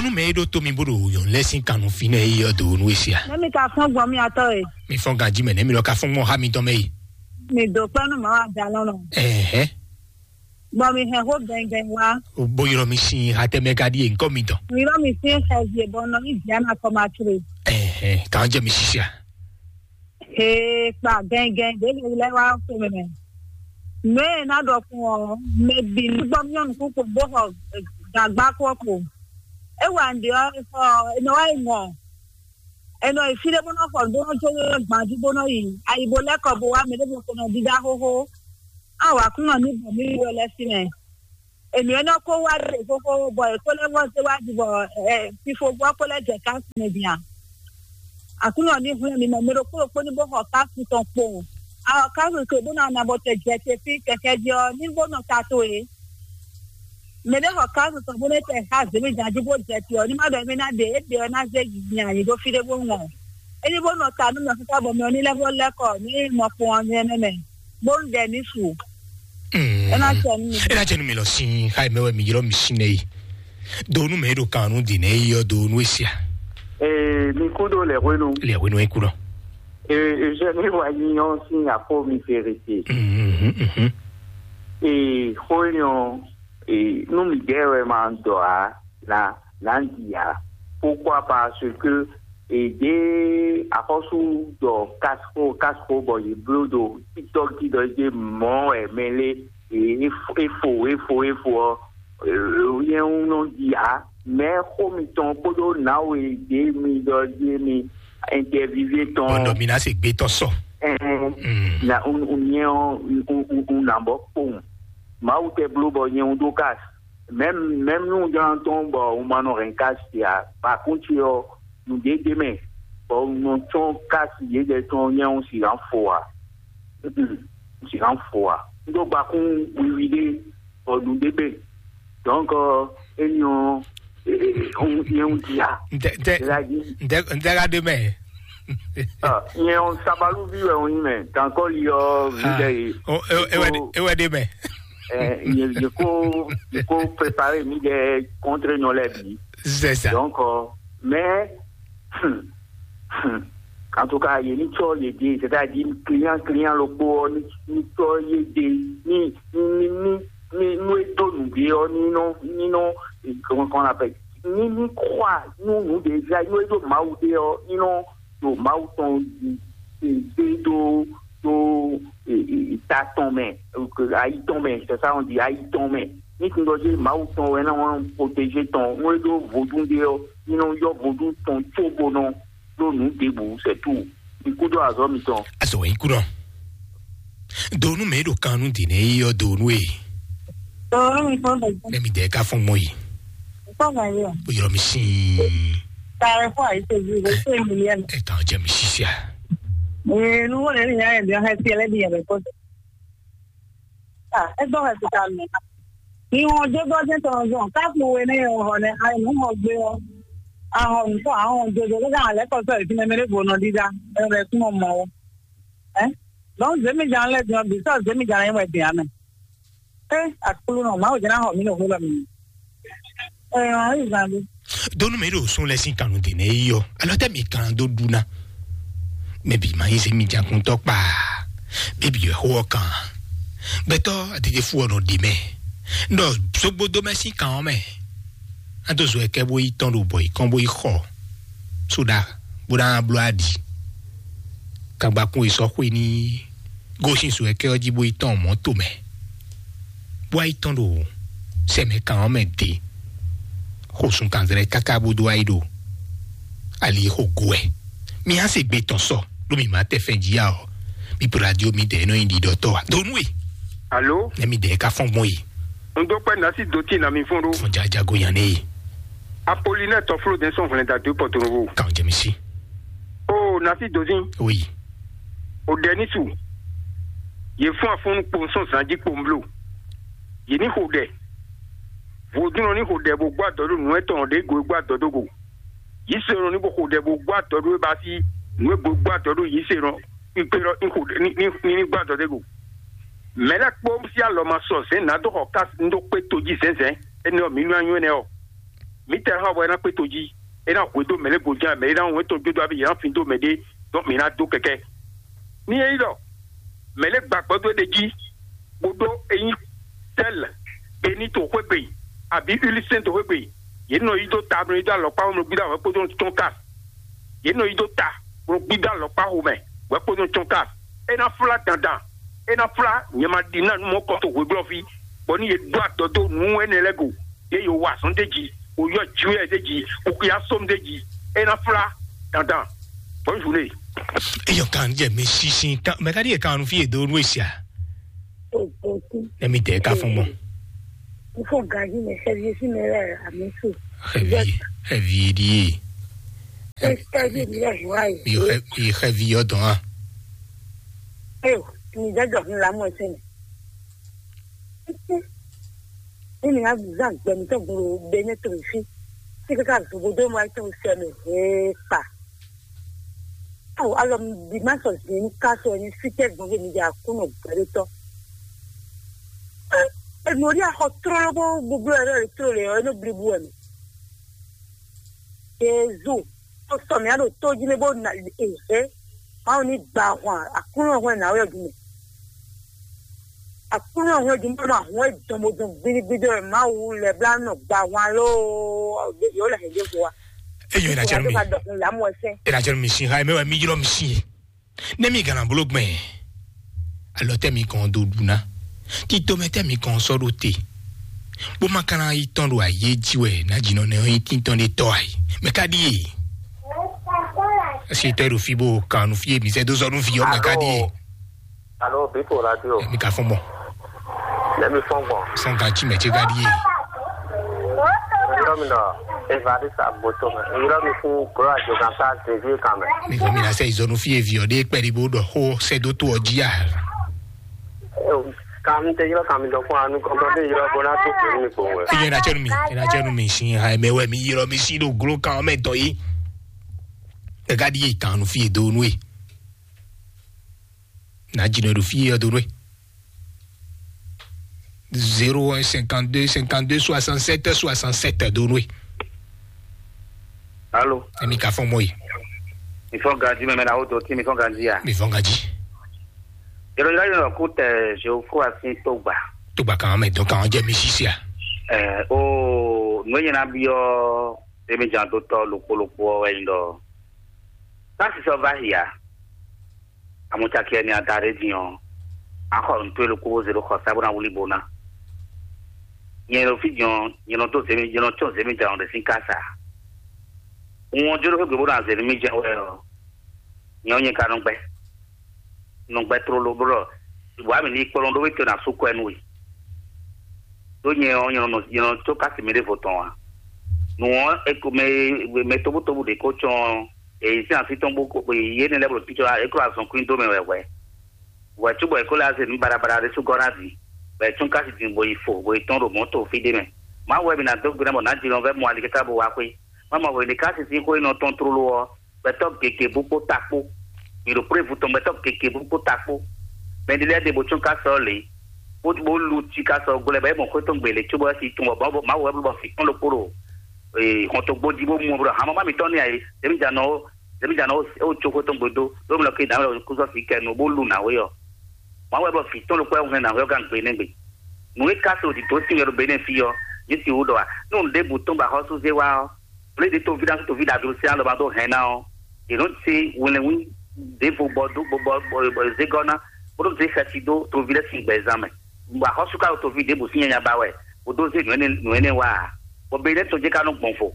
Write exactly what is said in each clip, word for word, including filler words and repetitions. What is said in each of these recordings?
Mɛ e ɖo to mi bó ɖo nyɔ̌nu lɛ́ɛ sín kannú fínɛ́ é ɔ́ dǒ nú we sia. Nɛ́ mi ka fɔ́n gbɔn mì atɔ́ e? Mi fɔ́n ganjí mɛ, nɛ́ mi lɔ ka fɔ́n gbɔn xá mitɔn mɛ yi. Mi dǒ kpɛ́ nú Mawu ajalɔ́nɔ. Ɛhɛn. Bɔ mi hɛn xó gɛngɛn wá. Bó ylɔ́ mi sín xá tɛ́ mɛ ka ɖíe ŋkɔ mitɔn. Mi ylɔ́ mi sín xɛvi e bɔ nɔ ní Diana kɔ ma tlé. Ɛhɛn, kàn jẹ́ mi sisia. Ee, kpa gɛngɛn ɖě lɛ́ɛ wá xwe mɛ. Nǔ e ná ɖɔ fún ɔ́, mɛ bǐ ní gbɔ myɔ́ nukún kpo bó xɔ gǎgbá kpó kpo. É wa nǔɖé ɔ́, è xɔ è nɔ wá yi mɔ. È nɔ yi fí ɖé bó nɔ xɔ nǔ bó nɔ jó gban jí bó nɔ yi ayi bó lɛ́ kɔ bó wá mɛ ɖěvo ko nɔ dídá xóxó. Á wǎ kún nɔ ní bɔ mí wú wɛ lɛ́ sí mɛ. Ènǔ e nɔ kó wá ɖe xóxó bɔ è kó lɛ́ vɔ́ zé wá ɖi bɔ ɛ fifo gbɔ kó lɛ́ jɛ kási mɛ din a? Aklúnɔ ní hwlɛ́n mi mɛ mɛ ɖokpó ɖokpó ní bó xɔ kási tɔn kpowun. A xɔ kási tɔn bó ná na bɔ tɛ jɛ te fí kɛkɛ jí ɔ́ ní bó nɔ ta towe. Mɛ ɖé xɔ kási tɔn bó nɔ tɛ xá zěmí jan jí bó jɛ te ɔ́ ní má ɖɔ émí ná ɖe é ɖe ɔ́ ná zé nya nyi ɖó fí ɖé bó ŋɔ. É ní bó nɔ ta nú mɛ xíxá bɔ mɛ ɔ́ ní lɛ́ vɔ́ lɛ́ kɔ ní mɔ kpɔn ɔ́ ní ɛnɛ mɛ bó ń ɖɛ ní su. Mm. É ná jɛ nú mi. É ná jɛ nú mi lɔ sín xá mɛ wɛ mi ylɔ́ mi sín nɛ yi. Do nú mɛ e ɖo kan nú din nɛ yi ɔ́ do nú e sia. Ee, mi kú ɖo lɛ̌ hwenu. Lɛ̌ hwenu e kú lɔ. Ee, Eugène wa nyi ɔ́ sín afɔ mi fèrèsé. Mhm, mhm. Ee, xó énɛ́ ɔ́, ee, nú mi dɛ́ wɛ ma dɔ ǎ, na na ɖi ǎ. Pourquoi? Parce que èdè axɔ́sú ɖɔ casco casco bɔ yě bló ɖo TikTok jí ɖɔ yě mɔ wɛ mɛ lé efo efo efo ɔ yɛn nɔ ɖi ǎ. Mɛ xó mitɔn kpódó nǎwe ɖě mi ɖɔ ɖí mi interview tɔn. Bɔndɔ mi ná se gbé tɔn sɔ. Ɛn Mm. na un un nyɛ ɔ un un un nà bɔ kpowun. Mawu tɛ bló bɔ nyɛ un ɖó kas. Même même nú un jlá tɔn bɔ un ma nɔ hɛn kas sia, ba kún ce ɔ nǔɖé ɖ'é mɛ, bɔ un nɔ tsɔ́n kas yědɛɛ tɔn nyɛ un sixá fo ǎ. Un sixá fo ǎ. Un ɖó gbakún wiwi ɖé bɔ nǔɖé gbe. Donc éní ɔ́ nyɛ un dia. Ntɛ ntɛ Ela dzi. Ntɛ ntɛ ka ɖe mɛ. Nyɛ un sabaluvi wɛ un nyí mɛ. Tankɔli ɔ mi ɖe yi. Ewɛ ɖe mɛ. Yeko yeko prepare mi ɖe contre nyɔ lɛ bi. C'est ça. Donc mais en tout cas yé ní tsɔ yé dé, c'est-à-dire client client lókpó ɔ ní ní tsɔ yé dé ní ní ní ní ní nú é dó nǔ dé ɔ ní nɔ ní nɔ comment on appelle, ní ní croire nú nǔ dé já nú é dó Mawu dé ɔ ní nɔ ɖo Mawu tɔn dé ɖó ɖó ta tɔn mɛ, ayi tɔn mɛ, c'est ça on dit, ayi tɔn mɛ. Ní tun ɖɔ jé Mawu tɔn wɛ ná wá protégé tɔn nú é ɖó vodún ɖé ɔ́, ní nɔ yɔ vodún tɔn cóbonɔ ɖó nǔ ɖěbǔ, c'est tout. Ikú ɖó azɔ̌ mitɔn. Azɔ wɛ ikú ɖɔ. Donu mɛ ɖo kan nú dǐnɛ yi ɔ́ donu e. Donu mi fɔ bɛ. Ne mi dɛ ka fɔn mɔ yi. Fɔ bɛ yɔ. O yɔrɔ mi sin. Taare fɔ ayi tɛ bi o tɛ mi yɛ. E kan jɛ mi sisia. Ee, nu wo le ni ya yɛ bi ɔhɛ ti ɛlɛ bi yɛ bɛ kɔ. Ah, e gbɔ hɛ ti ta mi. Ni wọn jẹ gbọ jẹ tɔn zɔn káfí wo ne yɛ wọ nɛ ayi nu mɔ gbé ɔ. Ahɔn nutɔ ahɔn jojo lé ka alẹ kɔ sọ ìfimɛ mɛ ɖé bo nɔ dídá. Ɛ bɛ kún mɔ mɔ o. Ɛ. Donc zemi jan lɛ diɔ bi sɔ zemi jan yɛ wɛ diɔ mɛ. Ɛ akulu nɔ Mawu jɛn ahɔ mi nɔ hó lɔ mi. Ɛ ɔn ayi zan bi. Donu mɛ ɖo sun lɛ sin kanu de ne yi yɔ. Alɔ tɛ mi kan do du na. Mɛ bi ma yi zemi jan kun tɔ kpa. Bɛ bi yɔ xó ɔ kan. Gbɛtɔ adede fu ɔ nɔ de mɛ. Ndɔ zogbo do mɛ sin kan ɔ mɛ. Ado zo ɛkɛ bo yi tɔn ɖo bɔ yi kɔn bo yi xɔ. Soɖa bó ná bló aɖi. Kagbakun e sɔ́ xwe ní gosín so ɛkɛ ɔ́ jí bó yi tɔn mɔ̌ tomɛ, bó wá yi tɔn ɖo sɛmɛ kan ɔ́ mɛ dě. Xo sun kanzlɛ́ káká bó dó wá yi ɖo ali xo go wɛ. Mi á se gbe tɔn sɔ ɖó mi má tɛ fɛn jí ya ɔ. Mi po radio mi dɛ nɔ nyi ɖiɖɔtɔ wa donu e. Alo. Ne mi dɛ ka fɔn gbɔn yi. N dó pẹ́ nasi dó tí na mi fún ɖó. Fún jajago yan ne yi. Apolinɛ tɔfló dɛn sɔn hwlɛnda dó pɔtorovo. Kan jɛmisi. O nasi dozin. Oui. O dɛ ní su. Yě fún afúnnu kpowun sɔn zan jí kpowun bló. Yě ní xo ɖɛ. Vodúnɔ ní xo ɖɛ bó gbó adɔ ɖó nǔ etɔn ɖě go e gbó adɔ dó go. Yǐsɔ́ ní bó xo ɖɛ bó gbó adɔ ɖó e ba sí nǔ e bó gbó adɔ ɖó yǐsɔ́ kpíkpé ɖɔ ní xo ɖɛ ní ní ní gbó adɔ dó go. Mɛ̌ lɛ́ɛ kpó sí alɔ ma sɔ zɛ̌n nǎ dó xɔ ká ń dó kpé tojí zɛ̌nzɛ̌n énɛ́ ɔ́, mǐ nú anyú énɛ́ ɔ́. Mǐtɛɛ hɔn wɛ ná kpé to jí, é ná hwedó mɛ lɛ́ɛ goján, mɛ é ná wɛn tɔn jó dó abí, yě ná fin dó mɛ ɖé, dɔn mǐ ná dó kɛkɛ. Ní é nyí ɖɔ mɛ lɛ́ɛ gba gbɔdó é ɖe jí, bó ɖó é nyí sɛ́lɛ, bení to xwé gbe, abǐ ulisɛ́n to xwé gbe, yě nɔ yi dó ta, nɔ yi dó alɔkpá, nɔ gbídá wɛ kpódó tɔn ká. Yě nɔ yi dó ta, nɔ gbídá alɔkpá xomɛ, wɛ kpódó tɔn ká. É ná flá dandan, é ná flá nyɛ ma ɖi ná nú mɔ̌ kɔ to hweglɔ́ví, bɔ ní yě ɖó adɔ dó nǔ énɛ́ lɛ́ɛ go, yě yǒ wa azɔn d'é jí, bó yɔ jwɛ d'é jí, bó xyá sɔ́m d'é jí, é ná flá dandan. Bonne journée. Eyɔ kan jɛ mi sisi kan mɛ ka ɖi yɛ kan nu fi yɛ do nu esia. Nɛ mi tɛ ka fɔn mɔ. N fɔ gaji mɛ sɛbi si mɛ lɛ ami su. Xɛvi xɛvi ɖi ye. Sɛbi mi lɛ hua ye. Mi xɛ mi xɛvi yɔ dɔn a. Eyo, mi jɛ jɔ fún lamɔ ɛsɛ mɛ. Ní mi ná zán gbɛ mi tɔn gbolo be ne to mi fi. Ti kaka zobo do mo ayi tɔn sɛ mi hee kpa. Awo alɔ mi bi ma sɔ zin ní ká sɔ ní fi tɛ gbɔn mi di akúnɔ gbɛɖotɔ. Enu ori axɔ trolo bó gbogbo yɛ lɛ trolo yɛ eno blibu wɛ mi. Jezu, to sɔ mi aɖo to jí mi bó na ehe. Mawu ní gba ahwan akúnɔ hwɛ na wɛ dun mɛ. Akúnɔ hwɛ dun mɛ ma hwɛ dɔn mo dɔn gbinigbin dɔ mawu lɛ bla nɔ gba ahwan loo. Yɔ lɛ hɛn dé fo wa. Eyɔ ina jɛnu mi. Ka dɔkun lamu ɛsɛ. Ina jɛnu mi si ha mɛ wɛ mi ylɔ mi si. Ne mi gana bolo gbɛn. Alɔ tɛ mi kɔn do duna. Tito mɛ tɛ mi kɔn sɔ do te. Bó ma kana yi tɔn do ayé ji wɛ na jinɔ ne yi tintɔn de tɔ ayi. Mɛ ka di ye. Esi tɔ do fi bo kanu fi ye mi sɛ do sɔ nu fi yɔ mɛ ka di ye. Alo, Biko Radio. Mi ka fɔn bɔ. Lɛmi fɔn gbɔn. Sɔn ka ci mɛ ce ka di ye. Yɔrɔ mi nɔ, Evariste Agboto mɛ. Yɔrɔ mi fún Gro Ajogan sa Xavier kan mɛ. Mi ko mi na sɛ izɔnu fi ye vi ɔ de kpɛ di bo dɔ xo sɛ do to ɔ ji a. Kan mi te yɔrɔ kan mi dɔ fún anu kɔntɔn de yɔrɔ bo na to kpɛ mi kpɔn wɛ. Iye na cɛnu mi, ina cɛnu mi si ha mɛ wɛ mi yɔrɔ mi si do glo kan mɛ tɔ yi. Ɛ ka di ye kan nu fi ye do nu ye. Na dzi nɔ ɖo fí yɛ dó nú we. Zéro un cinquante deux cinquante deux soixante sept soixante sept dó nú we. Alo. Emi ka fɔn mɔ yi. Mi fɔn ganji mɛ mɛ na wo do ti mi fɔn ganji ya. Mi fɔn ganji. Yɔrɔ yɔrɔ yɔrɔ kú tɛ Jehofa sin tó gbà. Tó gbà kàn án mɛ dɔn kàn án jẹ́ mi sísè à. Ɛ o nú e nyina biɔ emi jan dó tɔ lòkpó lòkpó ɔ wɛ nyi dɔ. Kasi sɔ va hia. Amɔcaki ɛni ada ɖe din ɔ́, axɔ nǔtó e ɖokpó bó zé ɖó xɔsá bó ná wlí bo ná. Nyɛ ɖo fí din ɔ́, nyɛ nɔ dó zěmí, nyɛ nɔ tsɔ́n zěmí jɛ ɔn ɖe sín kása. Un ɔ́ jó ɖó xwé gbe bó ná zě nú mì jɛ wɛ ɔ́, nyɛ ɔ́ nyɛ ka nɔ gbɛ́. Nɔ gbɛ́ tlóló bó ɖɔ bɔ ami ní kplɔ́n ɖó wétɔ́ ná sú kwɛ nú we. Ɖó nyɛ ɔ́, nyɛ nɔ nyɛ nɔ có kási mi ɖěvo tɔn ǎ. Nǔ ɔ́, è ko mɛ mɛ tóbútóbú ɖě kó cɔ́n ɔ́, èyí sín así tɔn bó kó yě énɛ́ lɛ́ɛ bó ɖo títɔ é kó azɔn kwín dó mɛ wɛ hwɛ̌. Hwɛ̌ cóbɔ è kó lɛ́ wá se nǔ baɖabaɖa ɖé sú gɔ́ ná vǐ, bɔ è tún ká sin din bó yi fo, bó yi tɔ́n ɖo mɔ̌ to fí ɖé mɛ. Mawu wɛ mi ná dó gbe ná bɔ nǎ jínɔ vɛ́ mɔ alikɛta bó wá xwé. Má mɔ hwě ɖé ká sin sín xó e nɔ tɔ́n tlóló ɔ́, gbɛtɔ́ gěgé bú kpó ta kpó. Mǐ ɖo kplé vú tɔn gbɛtɔ́ gěgé bú kpó ta kpó. Mɛ ɖé lɛ́ɛ ɖe bó tsɔ́n ká sɔ́ lě, bó bó lu cí ká sɔ́ gblɛ́ bɔ é mɔ xwé tɔn gbě lě cóbɔ é si tun bɔ Mawu wɛ bló bɔ fǐ tɔn ɖokpó ɖo hɔntogbó jí bó mu bɔ hamama mǐtɔn ní ayé. Zěmíjanɔ ó, zěmíjanɔ ó có xwé tɔn gbé dó, ɖó mlɔ ké dǎmɛ kúsɔ fǐ kɛ nu bó lu nǎwe ɔ́. Mawu wɛ bló fǐ tɔn ɖokpó wɛ hɛn nǎwe ɔ́ gán gbe nɛ́ gbe. Nǔ e ka se òdìdó sín wɛ ɖo Benɛ́ɛ fí ɔ́, yě si wú ɖɔ a, nú nǔɖébǔ tɔn ba xɔ́súzé wá ɔ́, Blěɖě toví ná toví ɖaglo sín alɔ ma dó hɛn ná ɔ́, yě nɔ zé wlɛnwí ɖěvo bɔ dó bɔ bɔ bɔ zé gɔ́ ná, bó nɔ zé xɛsi dó toví lɛ́ɛ sín gbɛzán mɛ. Bɔ axɔ́sú ka ɖo toví ɖěbǔ sín nyanya ba wɛ, bó dó zé nǔ énɛ́ nǔ énɛ́ wá ǎ. Bɔ be lɛ́ɛ tɔn jɛ ka nɔ gbɔn vo.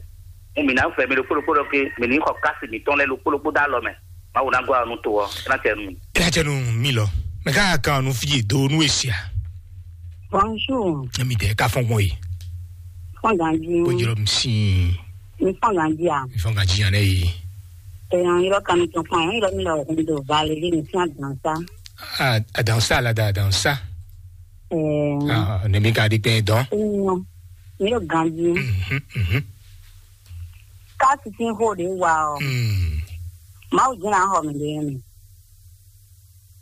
Mo mǐ ná fɛ mi ɖokpó ɖokpó ɖɔ ké mi ní xɔ kási mǐtɔn lɛ́ɛ ɖokpó ɖokpó dó alɔ mɛ. Mawu ná gɔ́ alɔ nú to ɔ́, é ná tɛ nú mi. É ná tɛ nú mi lɔ. Mɛ ká kan nu fi do nú esia. Bonjour. Emi tɛ ka fɔn gbɔn yi. Fɔn ganji. Ko jɔrɔ mi si. Mi fɔn ganji a. Mi fɔn ganji yan ne yi. Ɛ yan yɔrɔ kan mi tɔn kpɔn yan yɔrɔ mi lɔ kun do Valérie mi fún adansa. Ah, adansa la da adansa. Ɛ. Ah, ne mi ka di pɛ dɔn. Ɛyàn mi lɔ ganji. Mhm, mhm. Ká titi ho de wa o. Mm. Mawu jina ho mi de mi.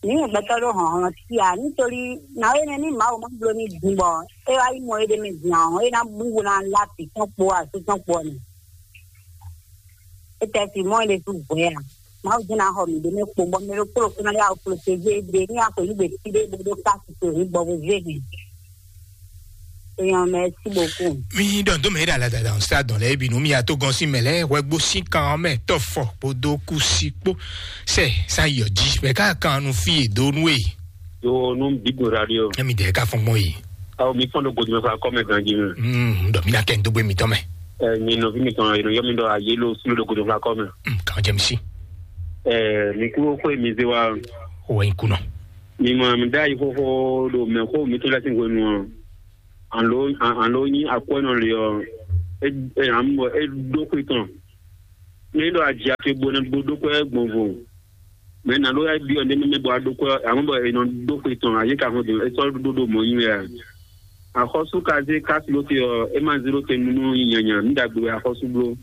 Ní gbɛtɔ́ ɖó hlɔ̌nhlɔ́n sí a, nítorí nǎwe nɛ́ ní Mawu má bló ní din bɔ é wá yi mɔ éɖée mɛ din ɔ́, é ná bú bó ná lá vǐ tɔn kpó asú tɔn kpó ɔ́ nɛ. É tɛ fi mɔ é ɖésú hwɛ a? Mawu jɛ́n ná xɔ mǐ ɖé mɛ kpo bɔ mɛ ɖokpó ɖokpó ná yá wɔ kplɔ́ ce ví é ɖe ní axwe ní gbe fí ɖé bó ɖó kási to ní bɔ bó zé hɛn. Èèyàn mɛ sí bó kú. Mi ɖɔ ndo mɛ ɖa la dada sa dɔn lɛ bi nu mi ato gɔn si mɛ lɛ wɛ gbo si kan mɛ tɔ fɔ kpodo kusi kpo sɛ sa yɔ ji mɛ ka kan nu fi e do nu e. Yo nu bibu radio. Emi de ka fɔn gbɔn yi. Awo mi fɔn do godo mɛ fa kɔ mɛ ganji mɛ. Mm, dɔ mi na kɛ n dogbe mi tɔ mɛ. Ɛ mi nɔ fi mi tɔn yɛrɛ yɔ mi dɔ aye lo sulo do godo fa kɔ mɛ. Mm, kan jɛ mi si. Ɛ mi kúrò kó mi ze wa. O wa yi kunɔ. Mi ma mi da yi xóxó do mɛ xó mi tó lɛ sí hwenu ɔ. Alo alo nyi akwɛ́nɔ le ɔ, e e amɔ e ɖó xwe tɔn. Ne ɖɔ aji ake bo ne bo ɖó kwɛ gbɔnvo. Mɛ na ɖo ya biɔ ne mɛ bɔ aɖó kwɛ amɔ bɔ e nɔ ɖó xwe tɔn ayi ka hɔn do e sɔ ɖó ɖo mɔ nyi wɛ a. Axɔsu ka zé kasi ɖo te ɔ, e ma zé ɖo te nunu nyanya nu ɖagbe wɛ axɔsu bló.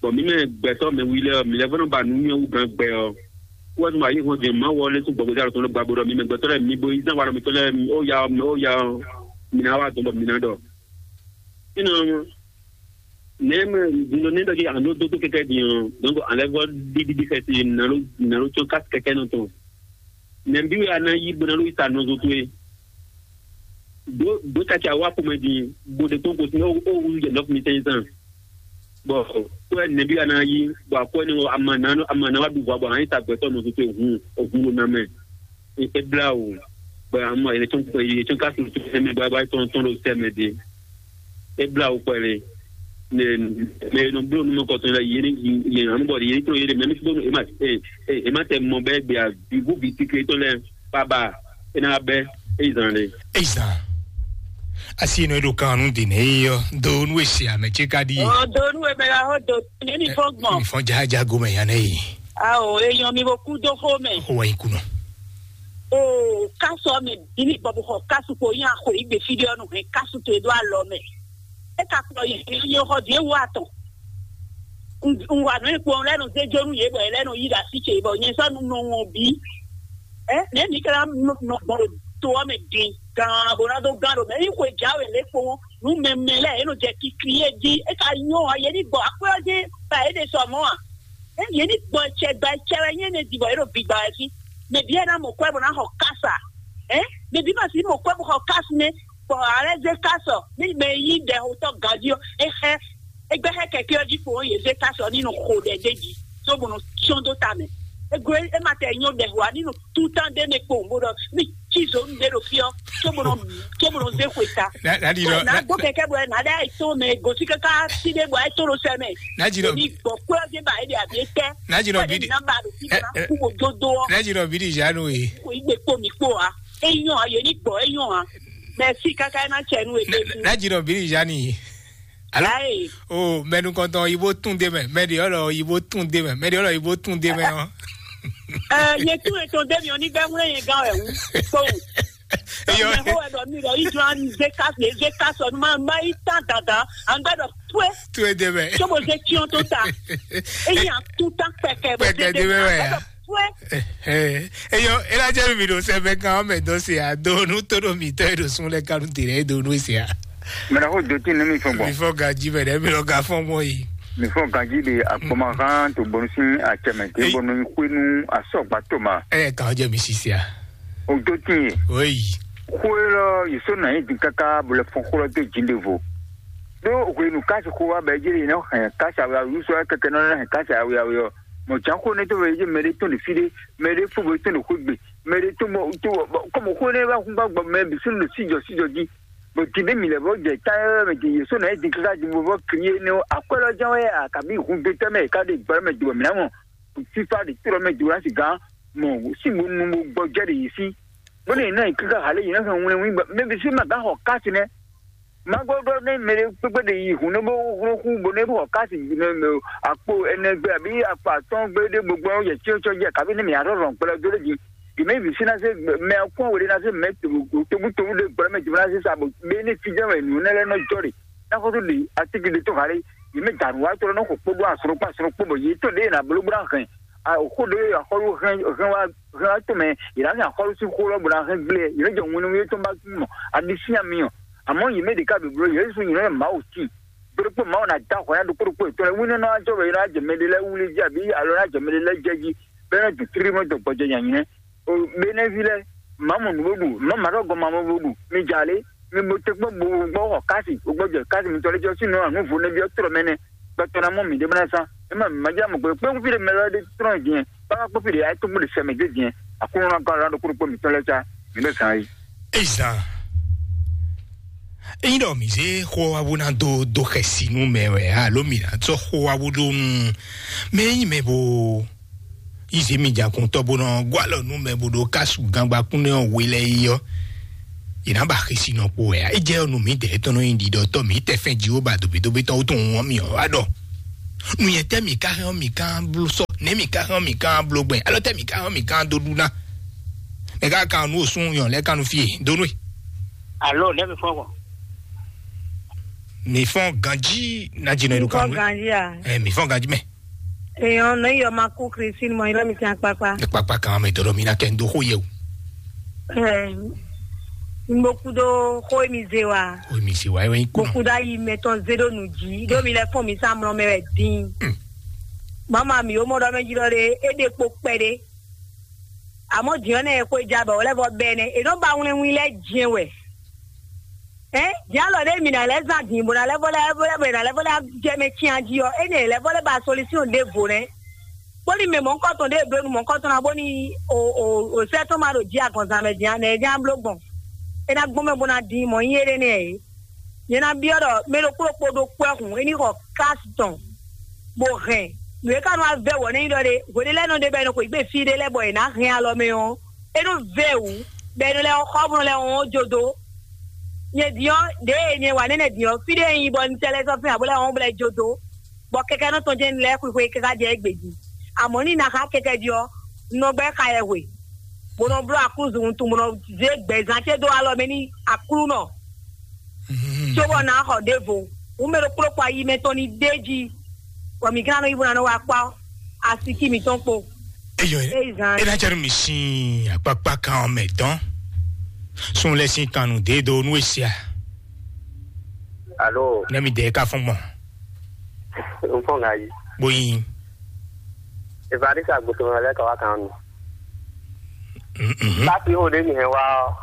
Bɔn mǐ mɛ gbɛtɔ́ mɛ wi lɛ́ɛ ɔ́, mǐ lɛ́ vɔ́ nɔ ba nǔnywɛ́ wú gán gbɛ ɔ́. Wɛ́ nú ayǐ hɔn din Mawu ɔ́ lɛ́ sín gbɔgbɛ́ dó alɔ tɔn lɛ́ gba bó ɖɔ mǐ mɛ gbɛtɔ́ lɛ́ɛ mi bo yí zán wa ɖɔ mǐtɔn lɛ́ɛ ó ya ɔ́ ó ya ɔ́, mǐ ná wá dɔn bɔ mǐ ná ɖɔ. Énɛ́ ɔ́, nɛ̌ mɛ din ɖɔ nɛ́ ɖɔ jí a nǎ dó dó kɛkɛ́ din ɔ́, dɔ̌nkɔ a lɛ́ vɔ́ ɖíɖíɖí xɛsi nǎ ɖó nǎ ɖó có kási kɛkɛ́ nɔ tɔn. Nɛ̌ bí wɛ a ná yí bó ná ɖó yi sa nɔzo towe? Ɖǒ ɖǒ caki awá xomɛ din bó ɖe kpɔ́n gosín ó ó wú jɛ nɔ́ fún mi sɛ́n zán. Bɔ kó wɛ nɛ̌ bí a ná yí bɔ akwɛ́ ní ama ná ama ná wá ɖu vɔ bɔ a nǎ yi sa gbɛtɔ́ nɔ tuntun hun ògúnɖó ná mɛ. É blá wò bɔ amɔ yě tún yě tún ká sun tún sɛmɛ bɔ bɔ tɔn tɔn ɖo sɛmɛ dé. É blá wò kpɛlɛ. Mɛ mɛ nɔ bló nu mɔ kɔtɔn la yé ní yé anu bɔ yé ní tó yé mɛ ní tó é ma é é ma tɛ mɔ bɛ gbé a bibu bi tikle tɔn lɛ baba é ná bɛ é zan lɛ. Ezan. Asi nɔ ɖo kan nu de nɛ yi yɔ do nu esi ame tse ka di. Ɔ do nu eme la ho do ne ni fɔ gbɔn. Mi fɔ jaja gomɛ yan ne yi. Awo eyɔn mi bo ku do xo mɛ. O wa yi kunɔ. O kasu ɔmɛ dini bɔ bo xɔ kasu ko yan xo igbe fi de ɔnu hɛn kasu to edo alɔ mɛ. E ka kplɔ yi yi xɔ di ewu atɔ. N wa nu ekpo lɛ nu zejo nu ye bɔ lɛ nu yi da si ce bɔ nyɛ sɔ nu nɔ wɔn bi. Ɛ ne mi kɛra nɔ gbɔn ɖo to ɔmɛ din gan bo na do gan ɖo mɛ yi xwe jawe le kpo nu mɛmɛ lɛ e nɔ jɛ kikli ye di e ka nyɔ a ye ni gbɔ akpɛ ɔdi ba e de sɔ mɔ a. Ɛ yě ní gbɔ etsɛ gba etsɛ wɛ nyí énɛ́ din bɔ yě ɖo bigba wɛ fí. Mɛ bǐ wɛ ná mɔ kwɛ́ bó ná xɔ kása. Ɛ mɛ bǐ ma sixú mɔ kwɛ́ bó xɔ kásu nɛ́, bɔ a lɛ́ zé kásu ɔ, ní mɛ e nyí ɖɛxotɔ́ ganjí ɔ́, é xɛ é gbɛ́ xɛ kɛkɛ́ ɔ́ jí kpo ɔ́, yě zé kásu ɔ́ ní nɔ xo ɖɛ d'é jí, có bó nɔ cyɔ́n dó ta mɛ. É gblé é ma tɛ nyó ɖɛxo ǎ, ní nɔ tú tán ɖé mɛ kpowun bó ɖɔ ní cí zǒnu ɖé ɖo fí ɔ́, có bó nɔ có bó nɔ zé xwe ta. Nadi nɔ Nà gbó kɛkɛ bɔ nà ɖe ayi tó mɛ gosí kaka sí ɖé bɔ ayi tó ɖo sɛ mɛ. Nadi nɔ Ní gbɔ kpé ɔdí ba eɖe abi etɛ. Nadi nɔ Kpɛɖe bidi. Nà ba ɖo sí Eh, eh. Kú bo dódó ɔ. Nadi nɔ bidi zanu ye. Kò yi gbe kpó mi kpó a. Eyɔn a yé ní gbɔ eyɔn a. Mɛ sí kaka ɛ ná tsɛ nú ebe. Nadi nɔ bidi zanu ye. Alo. Ayi. O mɛnu kɔntɔn yibo tún de mɛ mɛdi ɔlɔ yibo tún de mɛ mɛdi ɔlɔ yibo tún de mɛ ɔ. Ɛ yé tún ètò débi ɔ ní gbɛ wúlé yẹn gán ɛ wú. Kpóhùn. Eyɔ. Mɛ xó wɛ ɖɔ mi ɖɔ yi jɔ an zé ká zé ká sɔ nu ma ma yi tán dandan an gbɛ ɖɔ pue. Tue de mɛ. Tsobo zé tiɔn tó ta. Eyi an tún tán kpɛkɛ bɔ Kpɛkɛ de mɛ wɛ ya. Pue. Eyɔ elajɛ mi ɖo sɛbɛ kan ɔmɛ dɔ se a do nu to ɖo mi tɔ e ɖo sun lɛ kanu tere e do nu se a. Mɛ na ko do tin ne mi fɔ gbɔ. Mi fɔ gaji mɛ ɖe mi lɔ ga fɔ mɔ yi. Mi fɔ gaji de akpɔma kan to bɔnu sin acɛmɛ te Ei. Bɔnu xwenu asɔgba to ma. Ɛ kan jɛ mi sisi a. O do tin ye. Oyi. Xwelɔ yi so na yi din kaka bo lɛ fɔn xwlɔ do jin de vo. Do hwenu kasi xo wa bɛ jeli ne hɛn kasi awe awu so kɛkɛ nɔ hɛn kasi awe awe ɔ. Mɔ jan xo ne to bɛ je mɛ de tɔn de fi de, mɛ de fo bɛ tɔn de xo gbe, mɛ de tɔn bɔ to bɔ kɔmɔ xo ne ba kun ba gbɔ mɛ bi sun de si jɔ si jɔ ji. Bɔ ti de mi lɛ bɔ jɛ ta yɛ mɛ ti ye so na yi din kaka di bo bɔ kiri ne akwɛlɔ jan wɛ a kabi hun de tɛ mɛ ka de gbɛ mɛ di bɔ mi na mɔ. Fifa de tro mɛ di wɛ si gan mɔ si bo nu bo gbɔ jɛ de yi si. Bó ne na yi kaka hale yi na fɛ ŋun ne ŋun gbɛ mɛ bi si ma gan xɔ kasi nɛ. Magodo ne mɛ ɖe kpekpe ɖe yi hun ne bo hlɔn xu bo ne bo xɔ kasi ne mɛ akpo ɛnɛ gbe abi akpo atɔn gbe ɖe gbogbo yɛ tsyɔ́ tsyɔ́ jɛ kabi ne mɛ arɔ rɔn kplɔ do ɖe dzi. Yi mɛ vi si na se mɛ kɔn wo ɖe na se mɛ tobu tobu ɖe gbɔ mɛ jibɔ na se sa bo be ne fi jɛ mɛ nu ne lɛ nɔ jɔ ɖe. Na ko to ɖe atiki ɖe to hale yi mɛ danu wa tɔ nɔ xɔ kpo ɖo asrɔ kpo asrɔ kpo bɔ yi to ɖe na bolo bla hɛn. Xó ɖé axɔ́lú hɛn hɛn wá hɛn wá tɔn mɛ, yě ná hɛn axɔ́lú sín xó lɔ bó ná hɛn gblé, yě nɔ jɛ winnu yě tɔn ba mɔ aɖisín amiyɔ. Àmọ́ yě mɛ ɖě ká bǐbló, yě su yě nɔ yɛ Mawu tín. Bó ɖokpó Mawu ná da xɔ ya ɖokpó ɖokpó yětɔn lɛ wínú ná jɔ bɔ yě ná jɛ mɛ ɖé lɛ́ɛ wlí jí, abǐ alo ná jɛ mɛ ɖé lɛ́ɛ jɛ jí, bɔ é nɔ dun tlímɔ dɔ gbɔjɛ nyanyɛ. O Benɛvi lɛ́ɛ, má mɔ nǔ bó ɖu, má ma ɖɔ gɔn ma mɔ bó ɖu, mi jà lé, mi bo te kpɔ́n bo gbɔ xɔ kási, bo gbɔ jɛ kási mitɔn lɛ́ɛ jɔ sínú anu vo nɛ́ byɔ́ trɔ mɛ nɛ́, gbɛtɔ́ ná mɔ mǐ ɖé bó ná zán. É má mǐ má jɛ mɔ gbɛ kpé fí ɖé mɛ lɔ ɖé trɔ́n din, bá má kpó fí ɖé ayé tó bó ɖe sɛ mɛ dé din, Aklúnɔ ná gɔ́ alɔ ɖokpó ɖokpó mitɔn lɛ́ɛ cá, mǐ ɖo zán yí. Ezan. Ényí ɖɔ mǐ zé xó ɔ́ wá bó ná dó dó xɛsi nú mɛ wɛ alo mǐ ná sɔ́ xó wá bó ɖó nú mɛ ényí mɛ bo yí zě mi jǎkúntɔ́ bó nɔ gɔ́ alɔ nú mɛ bó ɖó kásu gangbakún nɛ́ ɔ́ we lɛ́ɛ yi ɔ́, yě ná ba xisi nɔ kpo wɛ ǎ. É jɛ ɔ́ nú mǐdɛɛ tɔn nɔ nyi ɖiɖɔtɔ́ mǐ tɛ fɛn Jihova dobedobe tɔn wútu wɔn mì ɔ́ wá ɖɔ nǔnyɛ tɛ́ mǐ ka hɛn ɔ́ mǐ ka bló sɔ, nɛ̌ mǐ ka hɛn ɔ́ mǐ ka bló gbɛn, alɔ tɛ́ mǐ ka hɛn ɔ́ mǐ ka dó ɖu ná. Mɛ ka kan nú osún yɔn lɛ́ kan nú fí e dó nú e. Alo, nɛ̌ mi fɔ́n gbɔn? Mǐ fɔ́n ganjí ná jìnnà ìlú kan nú. Ganjí a? Ɛ mǐ fɔ́n ganjí mɛ. Èèyàn náà yọ máa kú Christine mọ irọ́ mi ti apapa. Ní pápá kan mɛ dɔ̀dọ̀ mi ná kẹ́ ń dó xó yẹ o. Ẹ mo kú dó xó mi zé wa. Ó mi sì wá ẹwẹ́ ń kú mo náà. Kú dá yi mɛtɔn zé ɖó nǔ jí ɖó mi lɛ fún mi sá mlɔ mɛ wɛ dín. Mama mi ó mɔ ɖɔ mɛ jí ɖɔ ɖe é ɖe kpo kpɛ ɖé. Àmọ́ jìyàn náà ẹ kó ja bọ̀ wọlé fọ bẹ́ẹ̀ nẹ ènó ba wínwín lẹ́ jẹ́ wẹ̀. Ẹ́ jẹ́ àlọ́ ɖé mi nà lẹ́ zan dìbò nà lẹ́ fọlẹ́ fọlẹ́ bọ̀ nà lẹ́ fọlẹ́ jẹ́ mɛ tian jí ɔ é nè lẹ́ fọlẹ́ ba solution ɖé vo nɛ. Bóni mɛ mɔ̌kɔtɔn ɖé ɖó nu mɔ̌kɔtɔn ná bóni o o o sɛ tɔn ma ɖo jí agɔnzan mɛ jí anɛ jí abló gbɔn. É ná gbɔn mɛ bó ná dín mɔ̌ nyí éɖé nɛ é. Nyɛ ná byɔ́ ɖɔ mɛ ɖokpó ɖokpó ɖó kpó ɛ́ hǔn é ní xɔ kási tɔn bó hɛn nǔ e ka nɔ wá vɛ́ wɔ nɛ́ nyí ɖɔ ɖé hweɖé lɛ́ɛ nɔ ɖe bɔ è nɔ xweyǐgbe fí ɖé lɛ́ɛ bɔ è nǎ hɛn alɔ mɛ ɔ́, é nɔ vɛ́ wǔ bɔ è nɔ lɛ́ xɔ bó nɔ lɛ́ wɔn jó dó. Nyɛ din ɔ́, ɖěe nyɛ wa nɛ́nɛ din ɔ́, fí ɖé e nyí bɔ un tɛ lɛ́ sɔ́ fín ǎ bó lɛ́ wɔn bó lɛ́ jó dó, bɔ kɛkɛ́nɔ tɔn jɛ́n un lɛ́ xwixwe káká jɛ égbé jí. Amɔ̌ ní na xá kɛkɛ jí ɔ́, un nɔ gbɛ́ xa yɛ hwe, bó nɔ bló aklúzu wuntun, bó nɔ zé gbɛ̌zán ce dó alɔ mɛ n'i Aklúnɔ. Cóbɔ ná xɔ ɖěvo, hǔn mɛ ɖokpó ɖokpó ayi mɛtɔn ní ɖ'é jí, bɔ mǐ gán nɔ yi bó ná nɔ wá kpá asiki mǐtɔn kpo. Eyɔ Eyi zan. Ena jɛ nú mi sín akpakpa kan ɔ́ mɛ dɔn. Sun lɛ sín kan nú dé do nú esia. Alo. Ne mi dɛ ka fún gbɔn. N fɔn ŋa yi. Bóyin. Evariste agbótó lɛ ka wá kan nù. Mhm. Láti ó ɖé mi hɛn wá ɔ́.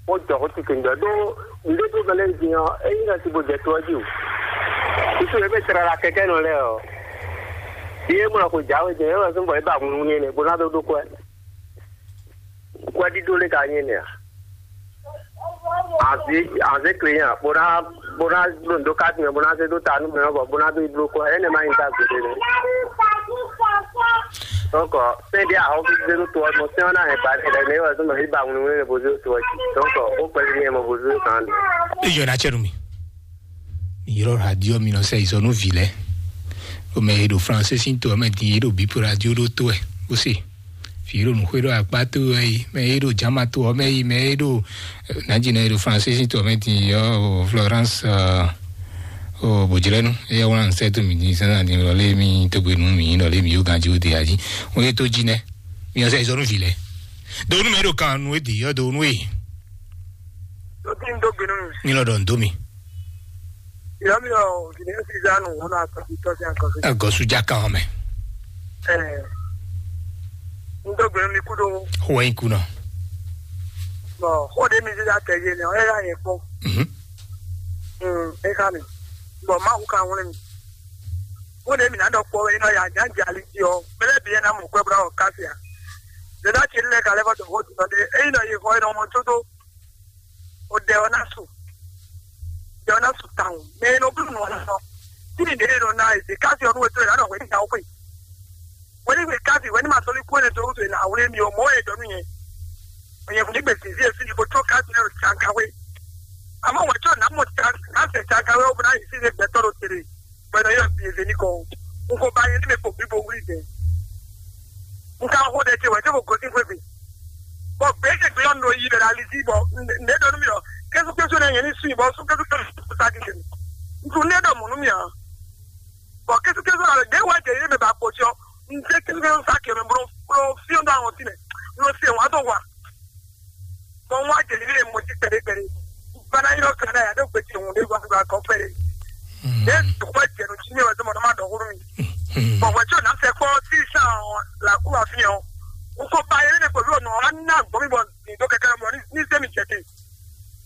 Ó jɔ xó titun jɔ ɖó nɖé tó gbɛlɛ din ɔ́, é nyí nɔ si bo jɛ to ɔ́ jí o. Susu e bɛ tlala kɛkɛ nɔ lɛ ɔ. Yé mɔ ko jawe jɛ, é wɔ sɔn bɔ é ba ŋunu nɛ, bó ná dó ɖó kɔɛ. Kɔɛ ɖíɖó lé ka nyí nɛ a? Anzi anzi kle nya, bó ná bó ná ɖo ndo ká tiɲɛ, bó ná zé dó ta nú mɛ ɔ́, bɔ bó ná dó yi bló kɔɛ, énɛ́ má nyí ta gbeɖé nɛ. Donc, sɛn ɖé ahɔ́ zé dó to ɔ́, mɔ sɛn ɔ́ ná hɛn ba ɖé lɛ, mɛ é wɔ sɔn bɔ é ba ŋunu nɛ bó zé dó to ɔ́ jí. Donc, ó kpɛlí nɛ mɔ bó zé dó kan. Eyɔ na cɛ nú mi. Mi ylɔ́ radio mi nɔ sɛ yi zɔ nú vǐ lɛ́ɛ. Ɖo mɛ e ɖo Fransé sín to ɔ́ mɛ din, yě ɖo bǐ radio ɖó tó wɛ bó se. Vǐ e ɖo nǔxwé ɖo akpá to wɛ yi, mɛ e ɖo Jama to ɔ́ mɛ yi, mɛ e ɖo Nǎjínɔ e ɖo Fransé sín to ɔ́ mɛ din yi ɔ́, o Florence, o Bojlɛnu, eya wlán sɛ to mi din sɛn na din lɔ lé mi togbe nu mi lɔ lé mi yó ganji o de aji. Wọ́n yé tó jí nɛ. Mi ɔ́ sɛ yi zɔ nú vǐ lɛ́ɛ. Do nú mɛ e ɖo kan nu e de yi ɔ́ do nú e. Tó kí n dó gbe nú mi. Ní lɔ ɖɔ n dó mi. Ìyá mi ɔ òsì ní fi zá nù wọn náà tọ́jú tọ́jú àkọsí. Agɔsu já kan mɛ. Ɛ n dó gbe nú mi kú dó. Xó wɛ nyi kú nɔ. Bɔn xó ɖé mi zá tɛ yé ni ɔ ɛ yá yẹn kpɔn. Mhm. Mm, ɛ ká mi. Bɔn Mawu ka wlé mi. Xó ɖé mi ná ɖɔ kpɔ wɛ iná yà já jà li jí ɔ. Mɛlɛ bi yẹn ná mú kwɛ bla ɔ káfíà. Ɖé ná tsi lɛ ka lɛ fɔ tɔn xó tɔn ɖé. Eyi nɔ yi xɔ yi nɔ mɔ tó tó. O ɖɛ ɔ ná su. Ɖɛ ɔ ná su tawun. Mɛ e nɔ bló nɔ ɔ́ nɔ. Tí mi ɖě e nɔ ná e dě káfí ɔ́ nú e tó e ná nɔ hwɛ ní nya xwe. Hwɛ ní hwe káfí hwɛ ní ma sɔ́ ní kú ɛnɛ tó wútu e ná wlé mi ɔ mɔ̌ wɛ e dɔ nú nyɛ. Nyɛ hwɛ ní gbe sǐnzí e fí ní bó tró káfí lɛ́ɛ ɖo tsankawe. Àmọ́ wɛ tó ná mɔ tsankawe káfí tsankawe ó bó ná yi sí ní gbɛtɔ́ ɖo tere. Bɔ nɔ yɔ bienvenue kɔ. N ko ba yɛ ne mɛ ko bi bo wuli dɛ. N ka xo ɖe ce wɛ ce ko gosi xwe gbe. Bɔ gbe ce gbe yɔ nɔ yi bɛ la lisi bɔ ne dɔ nu mi ɔ. Kesu kesu ne yɛ ni su bɔ su kesu kesu sa di se. N tu ne dɔ mu nu mi a. Bɔ kesu kesu la de wa jɛ ne mɛ ba kpo sɔ. N zé kékeré sa kɛmɛ bro bro fiɔ dɔ àwọn tinɛ. N lɔ se wa dɔ wa. Bɔn wa jeli le mo ti kpɛɖe kpɛɖe. Bana yi lɔ kana ya do gbeti hun de wa wa kɔ kpɛɖe. Ne dukɔ jɛnu ti ne wa dɔ mɔ dɔ ma dɔ huru mi. Bɔn wɛ tso na fɛ kpɔ ti sa la ku wa fi o. N ko ba yɛ ne ko lo nɔ wa na gbɔ mi bɔ ni do kɛkɛ mɔ ni se mi jɛ te.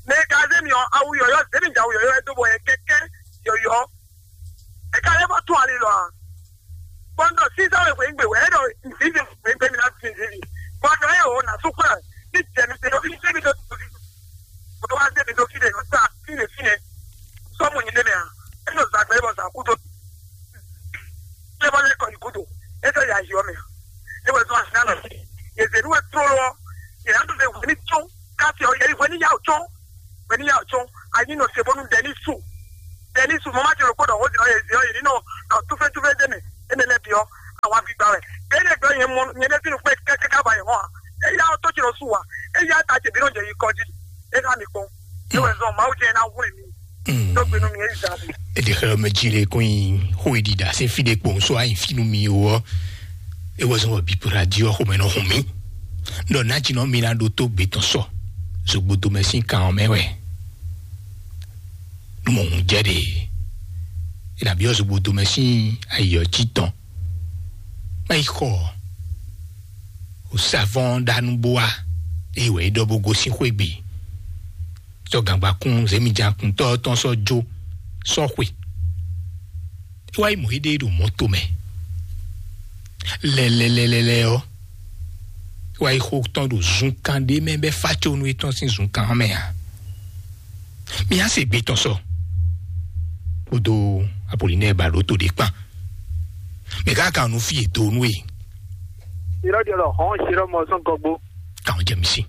Ne ka zé mi ɔ awu yɔyɔ zé mi ja awu yɔyɔ do bɔ yɛ kɛkɛ yɔyɔ. E ka lɛ bɔ tún ali lɔ a? Bɔn dɔ sisan wɛ hwɛ gbe wɛ e dɔ nzivi hwɛ gbe mi na fi nzivi. Bɔn dɔ e o na sukura ni jɛ mi se dɔ fi se mi dɔ tu fi. O wa se mi dɔ fi de sa fi de fi ne. Sɔmu nyi ne mɛ a? E dɔ zagbe bɔ sa kudo. E bɔ lɛ kɔ yi kudo. E sɔ ya yi ɔ mɛ. E wɛ zɔn asi na lɔ. Ye zenu wɛ trolo. Ye na to se hwɛ ni tso. Kasi ɔ ye hwɛ ni ya o tso. Mɛ ní yà tsɔn anyi nɔ se bónú Dɛnísu. Dɛnísu mɔ má ti ɖokpó ɖɔ wǒ din ɔ́, yě zě ɔ́, yě ní nɔ nɔ túfɛ́ntúfɛ́ dé mɛ. Énɛ́ lɛ́ɛ bǐ ɔ́, àwọn agbègbè wɛ. Bẹ́ẹ̀ ni ẹgbẹ́ yẹn mọ yẹn dé sínú pé kẹ́kẹ́ ká ba yẹn hàn án. Éyá ɔ́ tó ti lọ sùn wà. Éyá ta tèmi náà jẹ́ yìí kọjí. É ká mi kpɔn. É wɛ zɔn Mawu jẹ́ ná wúlò mi. Tó gbénú mi é zà mi. Eɖe xlɛ́ mɛ jí lé kún nyi xó e ɖiɖa sín fí ɖé kpowun só ayi fínú mi ó ɔ́, é wɛ zɔn wɔ bíbúra jí ɔ́ xomɛ nɔ hun mì. Ɖɔ nájínɔ mi ná ɖó tó gbé tɔn sɔ zogbodo mɛ sín kan ɔ́ mɛ wɛ. Nú mɔ hun jɛ ɖe, é nǎ byɔ́ zogbodo mɛ sín ayǐ ɔ́ jí tɔn. Má yi xɔ ɔ, o savɔn ɖa nú bó wá, eye wɛ é ɖɔ bó gosín xwé gbe. Sɔ́ gǎngbakún zěmijǎkuntɔ́ tɔn sɔ́ jó sɔ́ xwe. É wá yi mɔ éɖée ɖo mɔ̌to mɛ. Lɛlɛlɛlɛlɛ ɔ́, é wá yi xo tɔn ɖo zunkan ɖé mɛ bɔ é fá có nú étɔn sín zunkan ɔ́ mɛ ǎ. Mi á se gbe tɔn sɔ kpódó Apolinɛ́ɛ ba ɖó to ɖé kpán. Mɛ ká kan nu fí e do nú e. Irọ́ ɖi ɔlɔ hɔn ṣe ɖɔ mɔ sɔn gɔgbo. Kan jɛ mi si.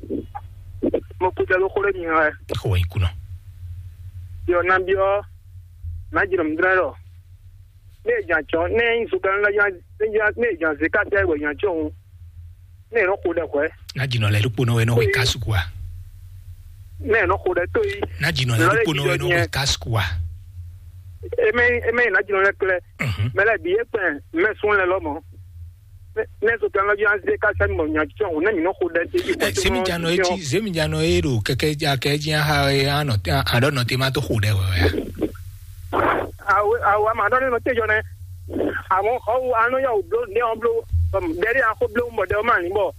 Mo kú jẹ ló xó lé mi hàn ẹ. Xó wɛ kú nɔ. Yɔ na bi ɔ na jìnnà mi dúró lọ. Ne jan tsɔ ne yin so kan la yan ne jan ne jan ze ka tɛ wɛ yan tsɔ hun. Ne nɔ xo dɛ kɔɛ. Na jìnnà lɛ ɖokpo nɔ wɛ nɔ wɛ kasu kua. Ne nɔ xo dɛ to yi. Na jìnnà lɛ ɖokpo nɔ wɛ nɔ wɛ kasu kua. Eme eme na jìnnà lɛ klɛ. Mhm. Mɛ lɛ bi ye kpɛn mɛ sun lɛ lɔ mɔ. Ne so kan la yan ze ka sɛ mɔ yan tsɔ hun ne mi nɔ xo dɛ te yi. Ɛ, zemijanɔ e jí zemijanɔ e ɖo kɛkɛ ja kɛ jí aha e anɔ te aɖɔ nɔ te ma to xo dɛ wɛ wɛ. Awo awo ama ɖɔ ne nɔ tejɔ nɛ. Àwọn xɔwu anɔ yà wò bló ndé wọn bló. Bɛri akó bló mɔ ɖe wọn ma ní bɔ.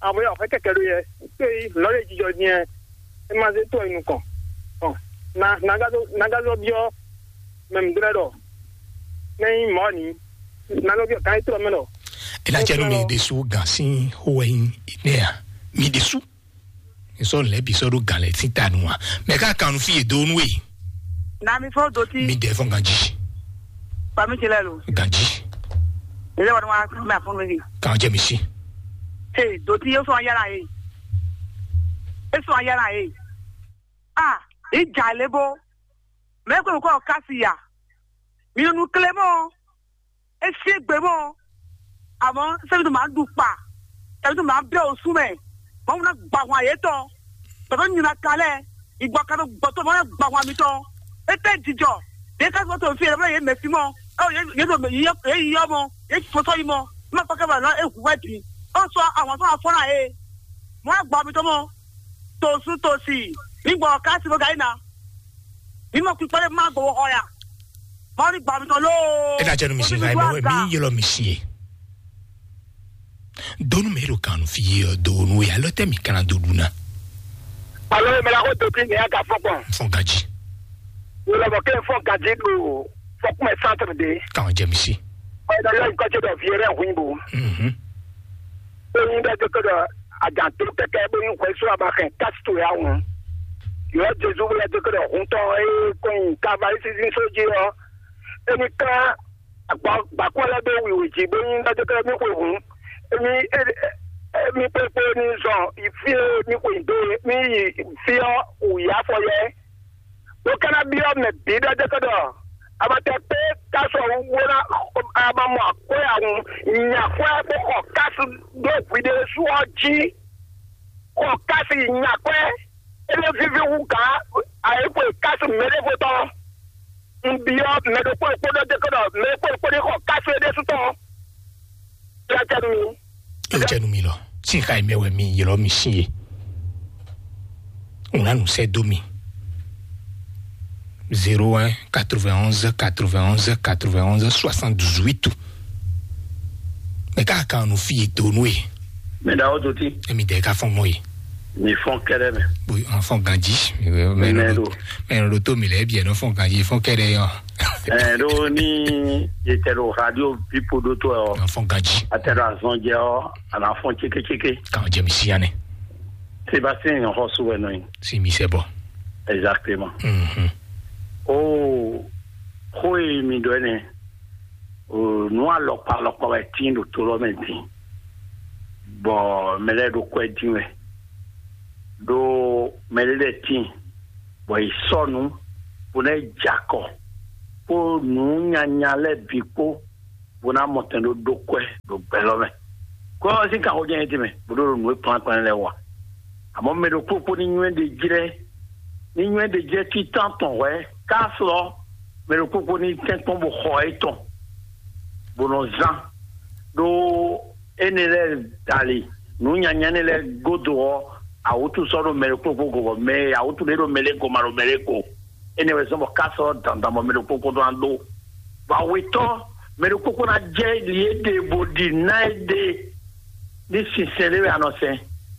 Àwọn yà wò fẹ́ kẹ̀kẹ́ ɖó yɛ. Pé lɔ lè jijɔ diɛ. E ma zé tó enu kɔn. Ɔ na nagazo nagazo biɔ. Mɛ mi dúró ɖɔ. Ne yín mɔ ni. Nagazo biɔ kan yí trɔ mɛ ɖɔ. Ela cɛ nu mi ɖesu gan si ho wɛ nyi ne ya mi ɖesu. Nsɔ lɛ bi sɔ ɖo gan lɛ si ta nu wa. Mɛ ka kan nu fi ye do nu e. Na mi fɔ doti. Mi dɛ fɔ ganji. Ba mi ti lɛ lo. Ganji. Ele wa ma ma fɔ mi. Kan jɛ mi si. Hey, doti yo fɔ yala ye. E fɔ yala ye. Ah, e ja le bo. Mɛ ko ko kasi ya. Mi nu klemo. E se gbe mɔ. Àmọ́ sẹ́mi tó máa ń dùn pa, sẹ́mi tó máa ń bẹ́ òsùn mẹ́, wọ́n múná gbà wọ́n àyè tán, tọ́tọ́ nyina kalẹ̀, ìgbà kan tó gbọ́ tó máa ń gbà wọ́n àmì tán. E tẹ́ jijọ, yẹ ká sọ tó fi ẹ̀rọ yẹ mẹ́sì mọ́, ẹ yẹ yẹ yẹ yọ mọ́, yẹ fọsọ yìí mọ́, ẹ má pàkẹ́ bàlá ẹ hu wẹ́ di, ó sọ àwọn tó máa fọ́nà yẹ, wọ́n á gbà àmì tán mọ́, tòsùn tòsì, nígbà ọ̀ká sí mo gà yín na, mímọ́ pípọ́lẹ́ má gbowó ọ̀yà, wọ́n á rí gbà àmì tán lóò. E na jɛ nu mi si nka ye mɛ wɛ mi yɛlɛ mi si ye. Donu mɛ ɖo kan fi ye ɔ donu ye alɔ tɛ mi kana do duna. Alo mɛ la ko to ti ne ya ka fɔ kpɔn. Fɔ gaji. Wala bɔ ke fɔ gaji do fɔ kuma centre de. Kan jɛ mi si. Ɔ da lɔ ko ce do viere hu bo. Mhm. Ko yin da ko do ajan to keke bo yin ko so aba kan kas to ya hu. Yo Jesu wala ko do hu to e ko yin ka ba isi sin so ji o. Emi ka Agba gbakpɔ́ lɛ́ɛ ɖó wiwi jí bó nyí ɖɔjɛkɛ mì xwe hǔn. Émí émí kpékpé ní zɔn fí e mì xwe dó é, mì yi fí ɔ́ wǔ yi afɔ yɛ. Bó ka ná byɔ́ mɛ bǐ ɖɔjɛkɛ ɖɔ abatɛ kpé ká sɔ wú bó ná a ma mɔ akwɛ́ awun nya akwɛ́ bó xɔ kásu ɖó hwi ɖésú ɔ́ jí. Xɔ kási nyakwɛ, ele vivi wu gǎ ayikwe kási mɛɖevo tɔn. Un byɔ́ mɛ ɖokpó ɖokpó ɖɔ dé kɔ ɖɔ mɛ ɖokpó ɖokpó ɖé xɔ kási é ɖésú tɔn. Kpátá mi. Eo jɛ nu mi lɔ. Sin xa yi mɛ wɛ mi ylɔ mi sin ye. Ŋun anu sɛ do mi. Zéro un, quatre-vingt-onze, quatre-vingt-onze, quatre-vingt-onze, soixante-dix-huit. Mɛ ka kan nu fi ye do nu ye. Mɛ da o do ti. Emi dɛ ka fɔn mɔ ye. Mi fɔn kɛrɛ mɛ. Bo an fɔn ganji. Mɛ Mɛ do. Mɛ do to mi lɛ bi ɛnɔ fɔn ganji fɔn kɛrɛ yɔ. Ɛ ɖo ni yetɛ ɖo radio pipo ɖo to ɔ. An fɔn ganji. Atɛ ɖo azɔn jɛ ɔ ana fɔn cekeceke. Kan jɛ mi si yanɛ. Sébastien yàn xɔ so wɛ nɔ yin. Si mi sɛ bɔ. Exactement. Mhm. O xo e mi ɖɔ ɛnɛ. O nu alɔkpa alɔkpa wɛ tin ɖo to lɔ mɛ tin. Bɔ mɛ lɛ ɖo kwɛ din wɛ. Ɖo mɛ lɛ tin. Bɔ yi sɔ nu. Bo nɛ jakɔ. Kpo nu nyanya lɛ bi kpo. Bo ná mɔ tɛn ɖó ɖó kwɛ ɖo gbɛ lɔ mɛ. Kó ɔ́ sín kanxó jɛ́n é tɛmɛ bó ɖó ɖo nǔ e kplán kplán lɛ́ɛ wa. Àmọ́ mɛ ɖokpó kpó ní nywɛ́ ɖe jlɛ́, ní nywɛ́ ɖe jlɛ́ títán tɔn hwɛ̌ ká slɔ́ mɛ ɖokpó kpó ní tɛ́nkpɔ́n bó xɔ é tɔn, bó nɔ zán ɖó énɛ́ lɛ́ɛ dali nǔ nyanya énɛ́ lɛ́ɛ gúdo ɔ́, awútu sɔ́ ɖo mɛ ɖokpó kpó go bɔ mɛ e awútu ɖé ɖo mɛ lɛ́ɛ go ma ɖo mɛ lɛ́ɛ go. Énɛ́ wɛ zɔ́n bɔ ká sɔ́ dandan bɔ mɛ ɖokpó kpó ɖó ná ɖó. Bɔ awetɔ́ mɛ ɖokpó kpó ná jɛ li e ɖe bó ɖi ná e ɖe ní sinsɛn ɖé wɛ a nɔ sɛn.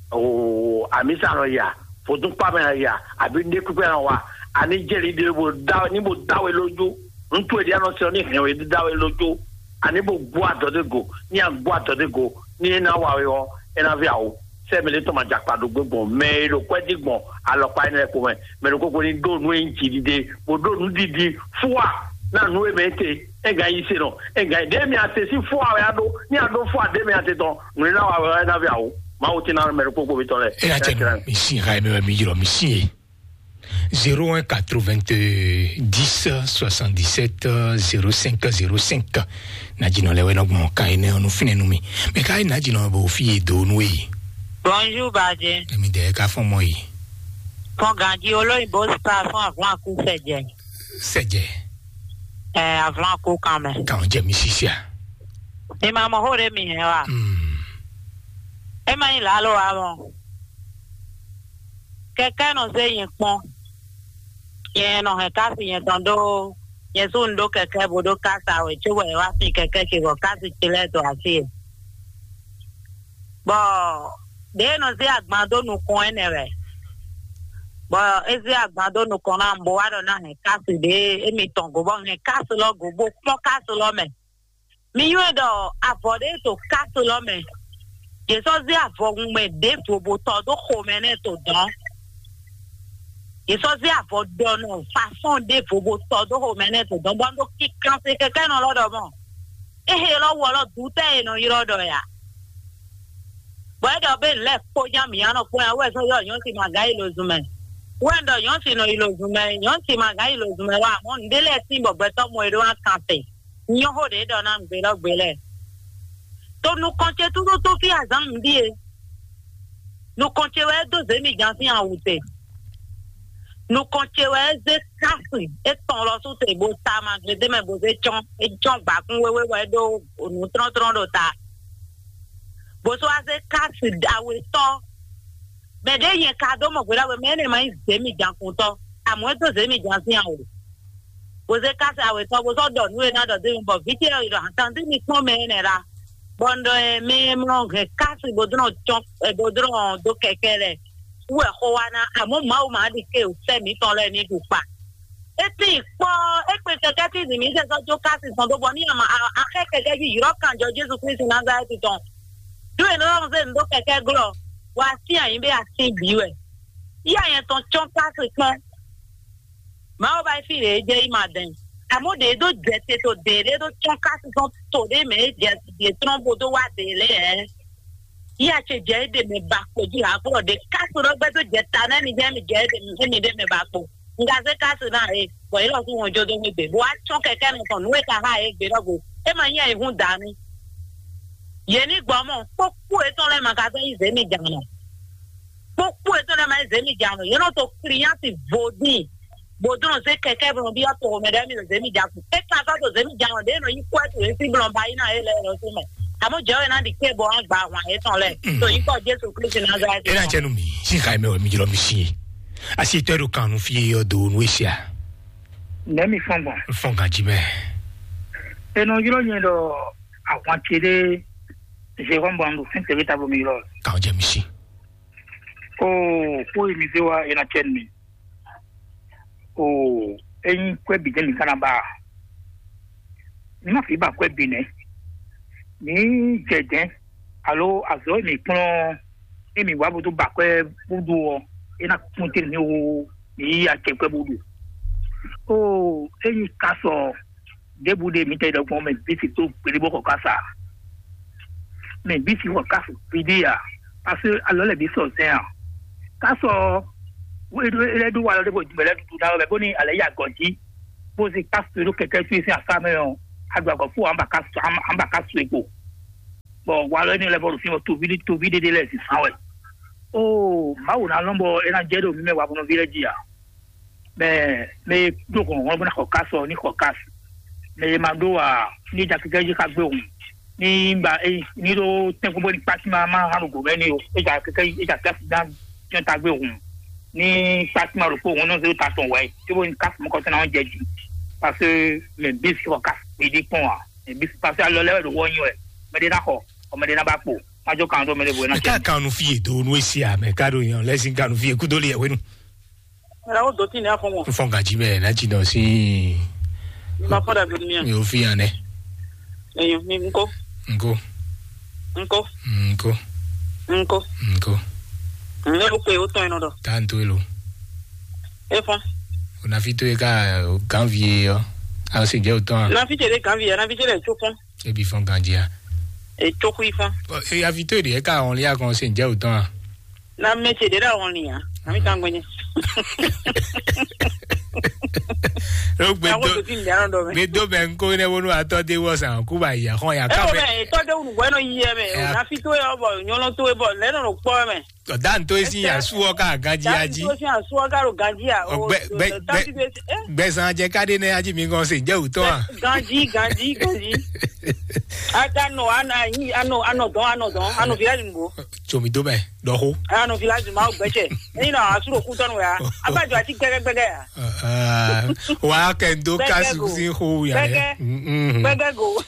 Oo, amisa nɔ ya, vodúnkpá mɛ nɔ ya, àbí ní kúkú nɔ wa, àní jɛ li ɖe bó da ní bó da we lójú. Ŋutsu e ɖi anɔ sɛn ní hɛn we da we lójú. Àní bó gbó adɔ dé go, ní a gbó adɔ dé go, ní é ná wa we ɔ́, é ná vɛ awo. Sɛ mɛ ɖé tɔn ma dza kpa ɖo gbé gbɔn, mɛ e ɖo kwɛ́ dí gbɔn alɔkpa énɛ́ lɛ́ɛ kpo mɛ. Mɛ ɖokpó kpó ní ɖó nǔ e nyí jiɖiɖe, bó ɖó nǔɖiɖi fúwa ná nǔ e mɛ é te, é gǎn yi se nɔ, é gǎn yi ɖě mi ase sín fúwa wɛ á ɖó, ní a ɖó fúwa ɖě mi ase tɔn, nǔ e ná wa wɛ ná vɛ awo. Mawu tí ná mɛ ɖokpó kpó mi tɔn lɛ. Eya cɛ mi si ha mi wɛ mi yrɔ mi si ye. Zéro un quatre-vingt-dix-sept soixante-dix-sept zéro cinq zéro cinq. Najinɔ lɛ wɛ nɔ gbɔn ka yi nɛ ɔnu finɛ nu mi. Mɛ ka yi najinɔ bo fi ye do nu ye. Bonjour, Badje. Emi dɛ ka fɔn mɔ yi. Fɔn ganji olóyìnbó spa fún avlan kú sɛjɛ. Sɛjɛ. Ɛ, avlan kú kan mɛ. Kan jɛ mi sisia. Ni ma mɔ hó ɖe mi hɛn wa. Hmm. E ma yi lalo wa mɔ. Kɛkɛ nɔ zé nyɛ kpɔn. Nyɛ nɔ hɛn kasi nyɛ tɔn ɖó nyɛ sú un ɖó kɛkɛ bó ɖó kasa wɛ, cóbɔ è wá fin kɛkɛ ce bɔ kasi ce lɛ́ɛ dó así e. Bɔ ɖě e nɔ zé agban dó nukɔn énɛ́ wɛ, bɔ é zé agban dó nukɔn ná bó wá ɖɔ ná hɛn kasi ɖě émi tɔn go, bɔ hɛn kasi lɔ go bó kpɔ́n kasi lɔ mɛ. Mi nywɛ́ ɖɔ avɔ ɖé to kasi lɔ mɛ. Yě sɔ́ zé avɔhunmɛ ɖěvo bó tɔ dó xomɛ nɛ́ to dɔ̌n. Yě sɔ́ zé avɔ ɖɔ nɔ fasɔ́n ɖěvo bó tɔ dó xomɛ nɛ́ to dɔ̌n, bɔ un ɖo kinkan se kɛkɛ́nɔ lɔ ɖɔ mɔ. É he lɔ wɔ lɔ dutɛ́ e nɔ ylɔ́ ɖɔ ya. Bɔ é ɖɔ bé lɛ́ kpó nya mǐ anɔ kpó ya wɛ sɔ́ ylɔ́ nyɔ̌ si ma gǎ yi lo zun mɛ. Wɛ un ɖɔ nyɔ̌ si nɔ yi lo zun mɛ, nyɔ̌ si ma gǎ yi lo zun mɛ wá, amɔ̌ nǔɖé lɛ́ɛ tín bɔ gbɛtɔ́ mɔ e ɖó ná kan te. Nyɔ́ xó ɖě ɖɔ ná nǔgbélɔ́gbé lɛ́ɛ. To nukɔn ce tútútú fí azǎn nǔ ɖíe. Nukɔn ce wɛ é dó zě mi gǎn sín awu te. Nukɔn ce wɛ é zé kási é tɔn lɔ sú te bó ta ma gledé mɛ bó zé cɔ́n. É cɔ́n gbǎkún wéwé wɛ é ɖó nǔ tlɔ́ntlɔ́n ɖo ta. Bó sɔ́ wá zé kási awetɔ́. Mɛ ɖě nyɛ ka dó mɔ gbeɖá wɛ mɛ énɛ́ ma nyí zě mi gǎn kuntɔ́. Amɔ̌ é dó zě mi gǎn sín awu. Bó zé kási awetɔ́ bó sɔ́ ɖɔ nǔ e ná ɖɔ dó mi bɔ vǐ ce ɔ́ yi ɖɔ hǎnkan dó mi kpɔ́n mɛ énɛ́ ɖa. Bɔ un ɖɔ ɛ mɛ e mlɔ hɛn kási bó dlɔ́n cɔn ɛ bó dlɔ́n dó kɛkɛ lɛ wú wɛ xó wá ná, amɔ̌ Mawu ma ɖi ke sɛ́ mǐtɔn lɛ́ɛ ní ɖu kpa. É tín kpɔ́ é kpe kɛkɛ tí zǐn mǐ sɛ sɔ́ jó kási tɔn dó bɔ ní ama axɛ kɛkɛ jí yrɔ́ kanjɔ Jezu Klísu Nazalɛ́ti tɔn. Ɖó è nɔ zé nǔ dó kɛkɛ glɔ́, wɔ a sín ayǐ bɛ a sín bǐ wɛ. Yí anyɛ tɔn cɔ́n kási kpɔ́n. Mawu ba fí ɖě jɛ yi ma dɛn. Àmọ́ ɖě ɖó jɛ te to ɖě ɖé ɖó cɔ́n kási tɔn to ɖé mɛ é jɛ ɖě trɔ́n bó dó wá ɖě lɛ́ɛ. Yí a ce jɛ é ɖe mɛ ba kpo jí ha kplɔ ɖě kási ɖɔ gbɛdó jɛ ta nɛ mi jɛ mi jɛ é mi ɖe mɛ ba kpo. Nga zé kási ná é bɔ yě lɔ kú wọn jó dó mi gbé bó wá cɔ́n kɛkɛ nɔ tɔn nǔ e ka ha é gbé ɖɔ go. É ma nyí ayǐ hún dǎ nú. Yě ní gbɔ mɔ kpókpó etɔn lɛ́ɛ ma ka zɔ́n yí zě mi jǎn nɔ. Kpókpó etɔn lɛ́ɛ ma yí zě mi jǎn nɔ. Yě nɔ to kliyanti vodín. Bó dó nɔ zé kɛkɛ bó nɔ byɔ́ to mɛ ɖé mi nɔ zě mi jǎn kú. É ka sɔ́ to zě mi jǎn nɔ ɖě nɔ yí kú ɛ́ to yě sí blɔ́ ba yí ná é lɛ́ɛ lɔ sí mɛ. Àmọ́ jẹ́ òye náà di kí ebo wọn gba àwọn ayé tán lẹ̀. Tó yí kọ́ Jésù Kristi Nazareth. E na cɛ nu mi, si xa mɛ wɛ mi jlɔ mi si. Asi tɔ ɖo kan nu fi yɔ do nu esia. Nɛmi fɔn gbɔn. Fɔn ganji mɛ. Enɔ ylɔ nyɛ ɖɔ ahwan ce ɖe Jérôme Bandu fɛn tɛgbɛ tabo mi ylɔ. Kan jɛ mi si. Oo, kó yi mi zé wa e na cɛ mi. Oo, enyi kwɛ bi jɛ mi kana ba. Mi ma fi ba kwɛ bi nɛ. Mi jɛ jɛ alo azɔ mi kplɔn. Emi wá bó tó ba kwɛ bó ɖu ɔ, é ná kún tɛ́ mi wú mi yí acɛ kwɛ bó ɖu. Ó, ényí ka sɔ ɖěbǔ ɖé mi tɛ ɖɔgbɔn mɛ bí si tó gbélé bó xɔ ká sa. Mɛ bí si xɔ ká su gbédé ya, parce que alɔ lɛ bí sɔ zɛn a. Ka sɔ wéɖó é lɛ́ ɖó wa lɔ ɖé bó jumɛ lɛ́ ɖuɖu ná wɛ bó ní alɛ yí agɔ jí, bó si ká su ɖó kɛkɛ su sín afá mɛ ɔ, agbagɔ fún wa, an ba ká su an ba ká su e kpo. Bɔ walɔ énɛ́ lɛ́ɛ vɔ ɖo fínɛ́, toví toví ɖé ɖé lɛ́ɛ zǐnfán wɛ. Oo, Mawu ná lɔn bɔ é ná jɛ ɖo mǐ mɛ wavɔnɔví lɛ́ɛ jí ǎ. Mɛ mɛ e ɖó hlɔ̌nhlɔ́n bó ná xɔ kási ɔ́, ní xɔ kási. Mɛ e ma ɖó ǎ, ní ja kɛkɛ́ jí xá gbé hǔn. Ní ba é ní ɖó tɛ́nkpɔ́n bó ní kpásí má má hán ɖo gǒ mɛ ní o. É ja kɛkɛ́ é ja kílási ná jɔ́n ta gbé hǔn. Ní kpásí má ɖokpó hǔn nɔ zé ta tɔn wɛ. Cóbó ní kási mɔkɔtɔn ná jɛ jí. Parce que mɛ bí si xɔ kási gbédé kpɔn ǎ. Mɛ bí si parce que alɔ lɛ́ wɛ ɖo wɔ nyi wɛ. Mɛ ɖé ná xɔ, ɔ mɛ ɖé ná ba kpo. Má jó kan ɖó mɛ ɖé bó ná Mɛ ká jɛ. Kan nu fie do nu esi a mɛ ká ɖo yan lɛsin kan nu fie kudo le yɛ wenu. Mira o doti ne afɔ mo. N fɔ gaji mɛ na ji dɔ si. Ma fɔ da bi mi. Mi o fi yan nɛ. Eyo mi nko. Nko. Nko. Nko. Nko. Nko. Ne o pe o tɔn yen nɔ dɔ. Tan to elo. E fɔ. O na fi to e ka gan vie yɔ. A o se jɛ o tɔn a. Na fi jɛ de gan vie, na fi jɛ de tso fɔ. E bi fɔ gaji a. E tso kui fɔ. E ya fi to e de e ka wɔn li a kɔn se jɛ o tɔn a. Na mɛ ce ɖe ɖe wɔn lia, ami kan gbɛnyɛ. Ɖo gbe Awo do to ti nya ɖɔ mɛ. Gbe do mɛ ŋko ne wonu atɔ de wɔ san ku ba ya xɔn ya Ɛ ka o mɛ. Mɛ etɔ de wunu bɔ enɔ yi yɛ mɛ. Ɛ. Na fi to yɔ bɔ nyɔlɔ to bɔ lɛ nɔ kpɔ mɛ. Ɔdan to esi ya suwɔ ka ganji ya ji. To si asuwɔ ka ɖo ganji ya. Ɔ, gbɛ- gbɛ- gbɛ- gbɛzan jɛ ka ɖe nɛ aji mi gɔn se jɛ wutɔ a. Ganji ganji ganji. Aka nɔ anɔ anɔ anɔ dɔn anɔ dɔn anɔ fi la ni bo. Tsomi do mɛ dɔxo. Anɔ fi la ni ma gbɛtsɛ. Eyi nɔ asu ɖo kutɔnu ya. Aba jɔ ati gbɛgɛ gbɛgɛ ya. Wa kɛ n do Gbɛgɛ kasu go. Si xo ya Gbɛgɛ. Gbɛgɛ go.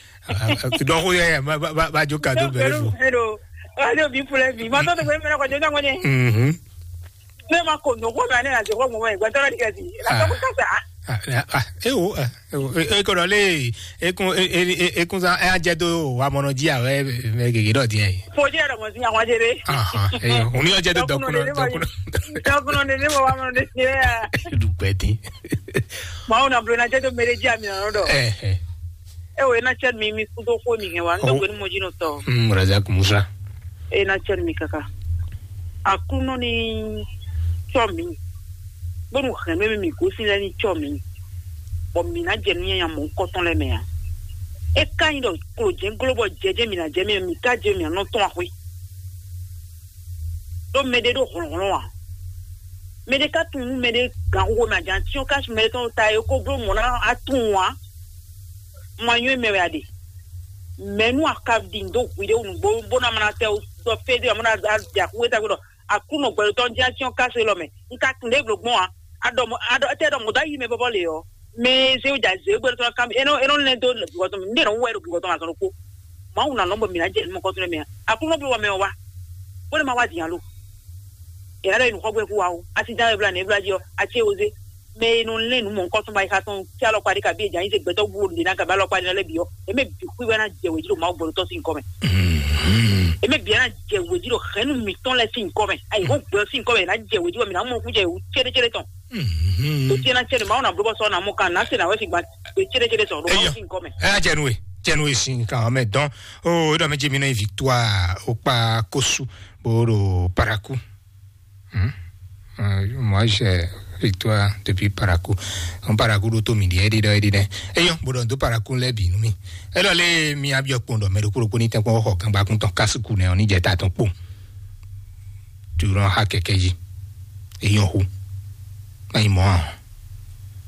Dɔxo ya ya ma ba ba jo ka do bɛrɛ fo. Hello. Hello bi fule bi. Ma tɔ to gbɛ mɛ na kɔ jɛ na kɔ jɛ. Mhm. Ne ma ko nɔ ko mɛ ne na jɛ ko mɔ mɛ gbɛtɔ la di kɛ si. La tɔ ko sa. Ah, ah, ah, e wo, ah, e wo, e- e ko dɔ le, e kun, e- e- e- e kun sa, e a jɛ do wa mɔnɔ ji a wɛ mɛ gege dɔ diɛ yi. Fo jɛ dɔ mɔ si àwọn jɛ de. Ah, ah, e yo, o ni jɛ do dɔkunɔ, dɔkunɔ. Dɔkunɔ de ne mɔ wa mɔnɔ de se ya. Du gbɛ di. Ma o na blo na jɛ do mɛ de ji a mi na dɔ. Eh, eh. E wo e na cɛ mi mi kudo ko mi hɛn wa, n dɔ gbɛ ni mo ji nɔ tɔ. Mm, Razak Musa. E na cɛ mi kaka. Aklúnɔ ní tsɔ mǐ, bónú hɛ̌nnu e mì gosín lɛ́ɛ ní tsɔ mǐ, bɔ mǐ ná jɛ nǔ nyanya mɔ̌hunkɔtɔn lɛ́ɛ mɛ ǎ. É ka nyí ɖɔ klojɛ̌n gló bɔ jɛjɛ mǐ ná jɛ mɛ, mǐ ka jɛ mǐ ná nɔ tɔ́n axwé. Ɖó mɛɖé ɖó hlɔ̌nhlɔ́n ǎ. Mɛɖé ka tunwun nú mɛɖé gǎn xóxó mɛ, a jǎn cyɔ́n kási mɛɖé tɔn ta e ko bló mɔ̌ ná a tunwun ǎ. Ma nyɔ́ mɛ wɛ a ɖe. Mɛ̌ nú a ka ɖi nǔ dó hwiɖée nǔgbó bó ná ma ná tɛ sɔ fé dó ǎ, bó ná jɛ axwé tagbe ɖɔ Aklúnɔ gbɛɖotɔ́ jɛ́n cyɔ́n kásu élɔ́ mɛ. Un ka tunwun ɖě blǒ gbɔn ǎ. A ɖɔ mɔ a ɖɔ étɛ́ ɖɔ mɔ̌ dó ayi mɛ vɔvɔ lě ɔ́, mɛ e zé wú jɛ azě gbɛɖotɔ́ ná ká mì. É nɔ é nɔ lɛ́ dó bǐ gɔ́ tɔn mɛ. Un ɖe nɔ wú wɛ ɖo bǐ gɔ́ tɔn mɛ azɔn ɖokpó. Mawu ná lɔn bɔ mǐ ná jɛ nǔ mɔ̌kɔ́tɔn mɛ ǎ. Aklúnɔ bló bɔ mɛ ɔ́ wá. Bó nɛ́ ma wá din alo. È nǎ ɖɔ è nǔ xɔ gbɛ kú wa ó. Asi dán wɛ blá nɛ̌ blá jí ɔ́, a cé wo zé. Mɛ e nɔ lɛ́n nǔ mɔ̌hunkɔtɔn ba yi xa tɔn fí alɔkpa ɖé kabi ejan yi se gbɛtɔ́ bú ɖě ná kabi alɔkpa ɖé ná lɛ́ bǐ ɔ́, eme bǐ xwí wɛ ná jɛ wějí ɖo Mawu gbɔdɔtɔ́ sín kɔ mɛ. Eme bǐ ná jɛ wějí ɖo hɛ̌nnu mǐtɔn lɛ́ɛ sín kɔ mɛ. Ayi hó gbɛ sín kɔ mɛ ná jɛ wějí wɛ mǐ ná mɔ kú jɛ wǔ céɖécéɖé tɔn. Tó tí ná cɛ́ ɖo Mawu ná bló bɔ sɔ ná mɔ kan ná se ná wɛ sigba gbé céɖécéɖé tɔn ɖo Mawu sín kɔ mɛ. Ɛ jɛ nú we, jɛ nú we sín kan mɛ dɔn. O, e ɖɔ mɛ jɛ mi nɔ yi victoire o kpa kosu bo ɖo paraku. Hmm? Euh, moi, j'ai victoire depuis Parakou. On Parakou do to mi di edi do edi ne. Eyo, bodo do Parakou le bi numi. Elo le mi abio kpon do me do kuro koni ten kpon ho kan ba kun ton kasuku ne oni je ta ton kpon. Tu ron ha keke ji. Eyo hu. Ai mo.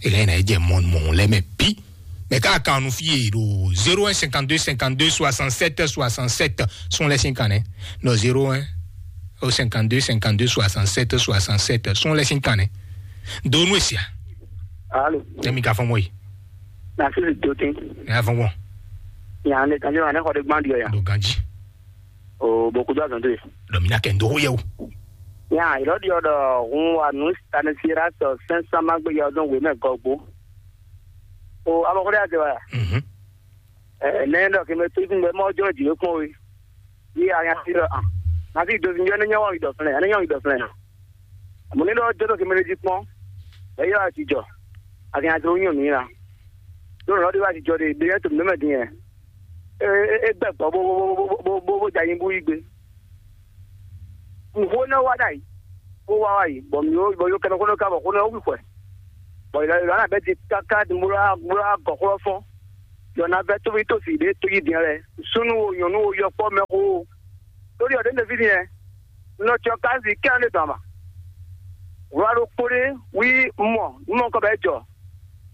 Ele na je mon mon le me bi. Mɛ ká kan nu fí e ɖo zéro un cinquante-deux cinquante-deux soixante-sept soixante-sept. Sún lɛ sín kan nɛ. Non, zéro un cinquante-deux cinquante-deux soixante-sept. Sún lɛ sín kan nɛ. Donu esia. Alo, Emi ka fɔn mɔ yi. na sisi dotin. Nya fɔn mɔ. Yan le kan jɔ ne xɔ de gbandi ya. Do ganji. O boku do azɔn de. Dɔ mi na kɛ ndo ho yɛ o. Yan ilo di odo hun wa nu stanisira so sensa magbe ya odon we me gogbo. O abo ko de ate wa. Mhm. Eh, ne do ke me tu kun be mo jo di ko we. Yi a yan si do an. Na si do sin jo ne nyawo idɔ flɛ, ne nyawo idɔ flɛ. Mo ne do jo do ke me di kpɔn. E yo a ti jɔ. A kan to nyu mi na. Do lo di wa ti jɔ de, de to me me din. E e gbɛ gbɔ bo bo bo bo bo bo ja yin bu yi gbe. Nǔxó nɔ wa ɖ'ayǐ, bó wá wá yi, bɔ mǐ bɔ yó kɛnɛ xó nɔ ka bɔ xó nɔ wí xwɛ, bɔ yǒ yǒ ná bɛ́ di káká bó lá bó lá gɔ̌ xlɔ́ fɔ́n. Yǒ ná vɛ́ tóví tó sì ɖě tó yí din lɛ́ɛ, súnnu wo, nyɔ̌nu wo, yɔkpɔ́ mɛxó wo. Lórí ọ̀dẹ́ ndèví nìyẹn, nɔ tsɔ káàzì kí á lè dàn mà. Wlá ɖó kpóɖé wí mɔ nú mɔ kɔ bɛ jɔ.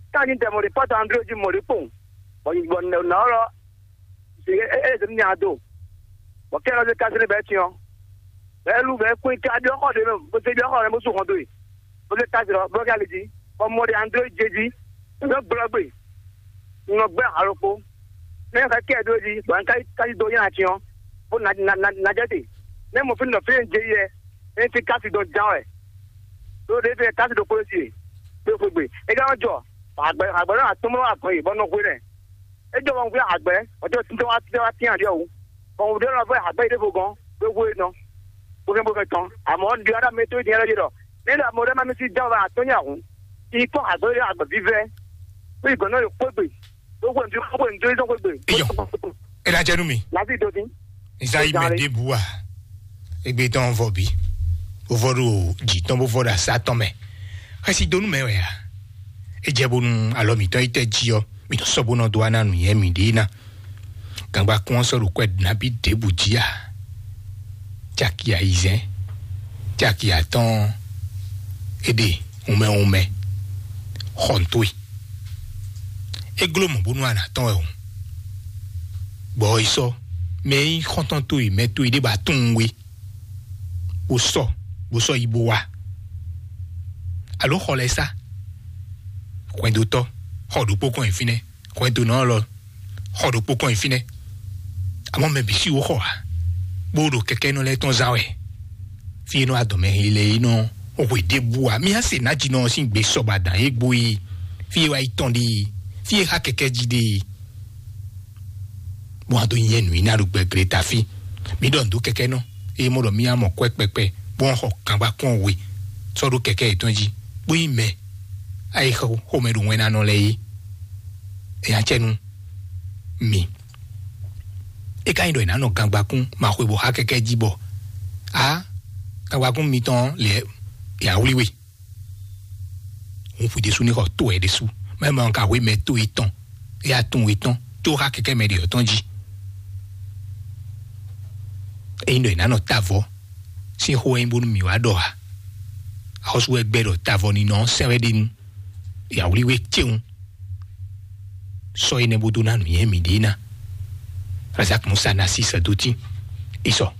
Ká ní dɛ mɔ ɖé pɔ́ta André jí mɔ ɖé kpowun, bɔ bɔ nǎ ɔ́ lɔ, e e zě ní nya do. Bɔ kɛ lɔ zé kasi ne bɛ tiɔ. Bɛ lu bɛ kún ka ɖiɔ xɔ ɖe mɛ, bó se ɖiɔ xɔ ɖe bó su hɔn do yi. Bó se kasi lɔ bó ka le jí. Bɔ mɔ ɖe André dze jí. Bɛ gblɔ gbe. Nɔ gbɛ alo kpo. Ne ka kɛ do jí, bɔ ka ka do yina tiɔ. Bó na na na na jɛ te. Ne mo fi nɔ fi dze yɛ. Ne ti kasi dɔ jan wɛ. Do de fi kasi do kolo si. Do fo gbe. E ka jɔ. Agbɛ agbɛ na atɔmɔ agbɛ bɔ nɔ hwe nɛ. E jɔ wɔn hwe agbɛ. O jɔ titɛ wa titɛ wa tiɛ adiɔ wu. Bɔn wǔ ɖé lɔ vɔ agbɛ yi ɖěvo gɔn, bó hwe nɔ, bó fɛn bó fɛn tɔn. Amɔ̌, un ɖi ɔ́ ɖɔ mɛ tó dín ɛlɔ́ ɖɔ, ní ɖɔ mɛ ɖé má mì sí jɛ wɛ atɔ́nyɛ hǔn, yi kpɔ́n agbɛ ɖé agbɛ vívɛ́, bó yi gɔ̌n nɔ yi kpó gbe, bó hwe nǔ bó hwe nǔ tó yi tɔn kpó gbe. Iyɔ. E na jɛ nú mi. Lásì dodin. Nzá yi mɛ ɖěbǔ a? Egbe tɔn vɔ bí. Bó vɔ ɖo jǐ tɔn bó vɔ ɖo asá tɔn mɛ. Xɛsi dó nú mɛ wɛ a? E jɛ bónú alɔ mǐtɔn yi tɛ jí ɔ́, mǐtɔn sɔ́ bó nɔ dó wá ná nǔnywɛ́ mǐɖée ná. Gangba kún ɔ́ sɔ́ ɖo kwɛ nabí ɖěbǔ jí a? Caki ayizɛ́n, caki atɔ́ɔ́n, é ɖe wunmɛ wunmɛ xɔntoe. É gló mɔ̌ bónú a nǎ tɔ́n wɛ hǔn. Bɔ yi sɔ́ mɛ e nyí xɔ́ntɔn towe, mɛ towe ɖé ba tunwun we, bó sɔ bó sɔ́ yi bó wá. Alo xɔ lɛ́ɛ sá? Hwɛndotɔ́, xɔ ɖokpó kɔn nyi fínɛ́. Hwɛndo nɔ lɔ, xɔ ɖokpó kɔn nyi fínɛ́. Amɔ́ mɛ bǐ sí wó xɔ ǎ, bó ɖo kɛkɛ́nɔ lɛ́ɛ tɔn zán wɛ. Fí e nɔ adɔmɛ he lɛ e nɔ hwe ɖěbǔ ǎ. Mí á se nǎjínɔ ɔ́ sín gbe sɔba dǎn é gbo yi. Fí e wá yi tɔn ɖe, fí e xa kɛkɛ́ jí ɖe. Bó wá dó nyɛ nǔ yi ná ɖo gbɛglé ta fí. Mí ɖɔ nǔ dó kɛkɛ́nɔ, eye mɔ ɖɔ mí á mɔ kwɛ́ kpɛkpɛ, bó wá xɔ kangba kɔn we, sɔ́ ɖó kɛkɛ́ yětɔn jí, bó nyí mɛ. Ayi xomɛ ɖo wɛn ná nɔ lɛ yé. Enya cɛ nu mi. E ka nyi ɖɔ è nǎ nɔ gangbakún ma xwe bɔ xá kɛkɛ jí bɔ a gangbakún mitɔn lɛ ya wlí we. Hun fwi ɖésú ní xɔ tó ɛ ɖésú. Mɛ ma ka hwe mɛ tó etɔn, ya tún etɔn tó xá kɛkɛ mɛ ɖe ɔtɔn jí. Eyin ɖɔ è nǎ nɔ tavɔ sín xó wɛ nyí bónú mǐ wá ɖɔ a? Axɔ́sú wɛ gbɛ ɖɔ tavɔ ní nɔ sɛn wɛ ɖe nu. Ya wlí we céwun. Sɔ énɛ́ bó dó ná nǔnywɛ́ mǐɖée ná. Razak Musa ná sí sɛdótín. Isɔ.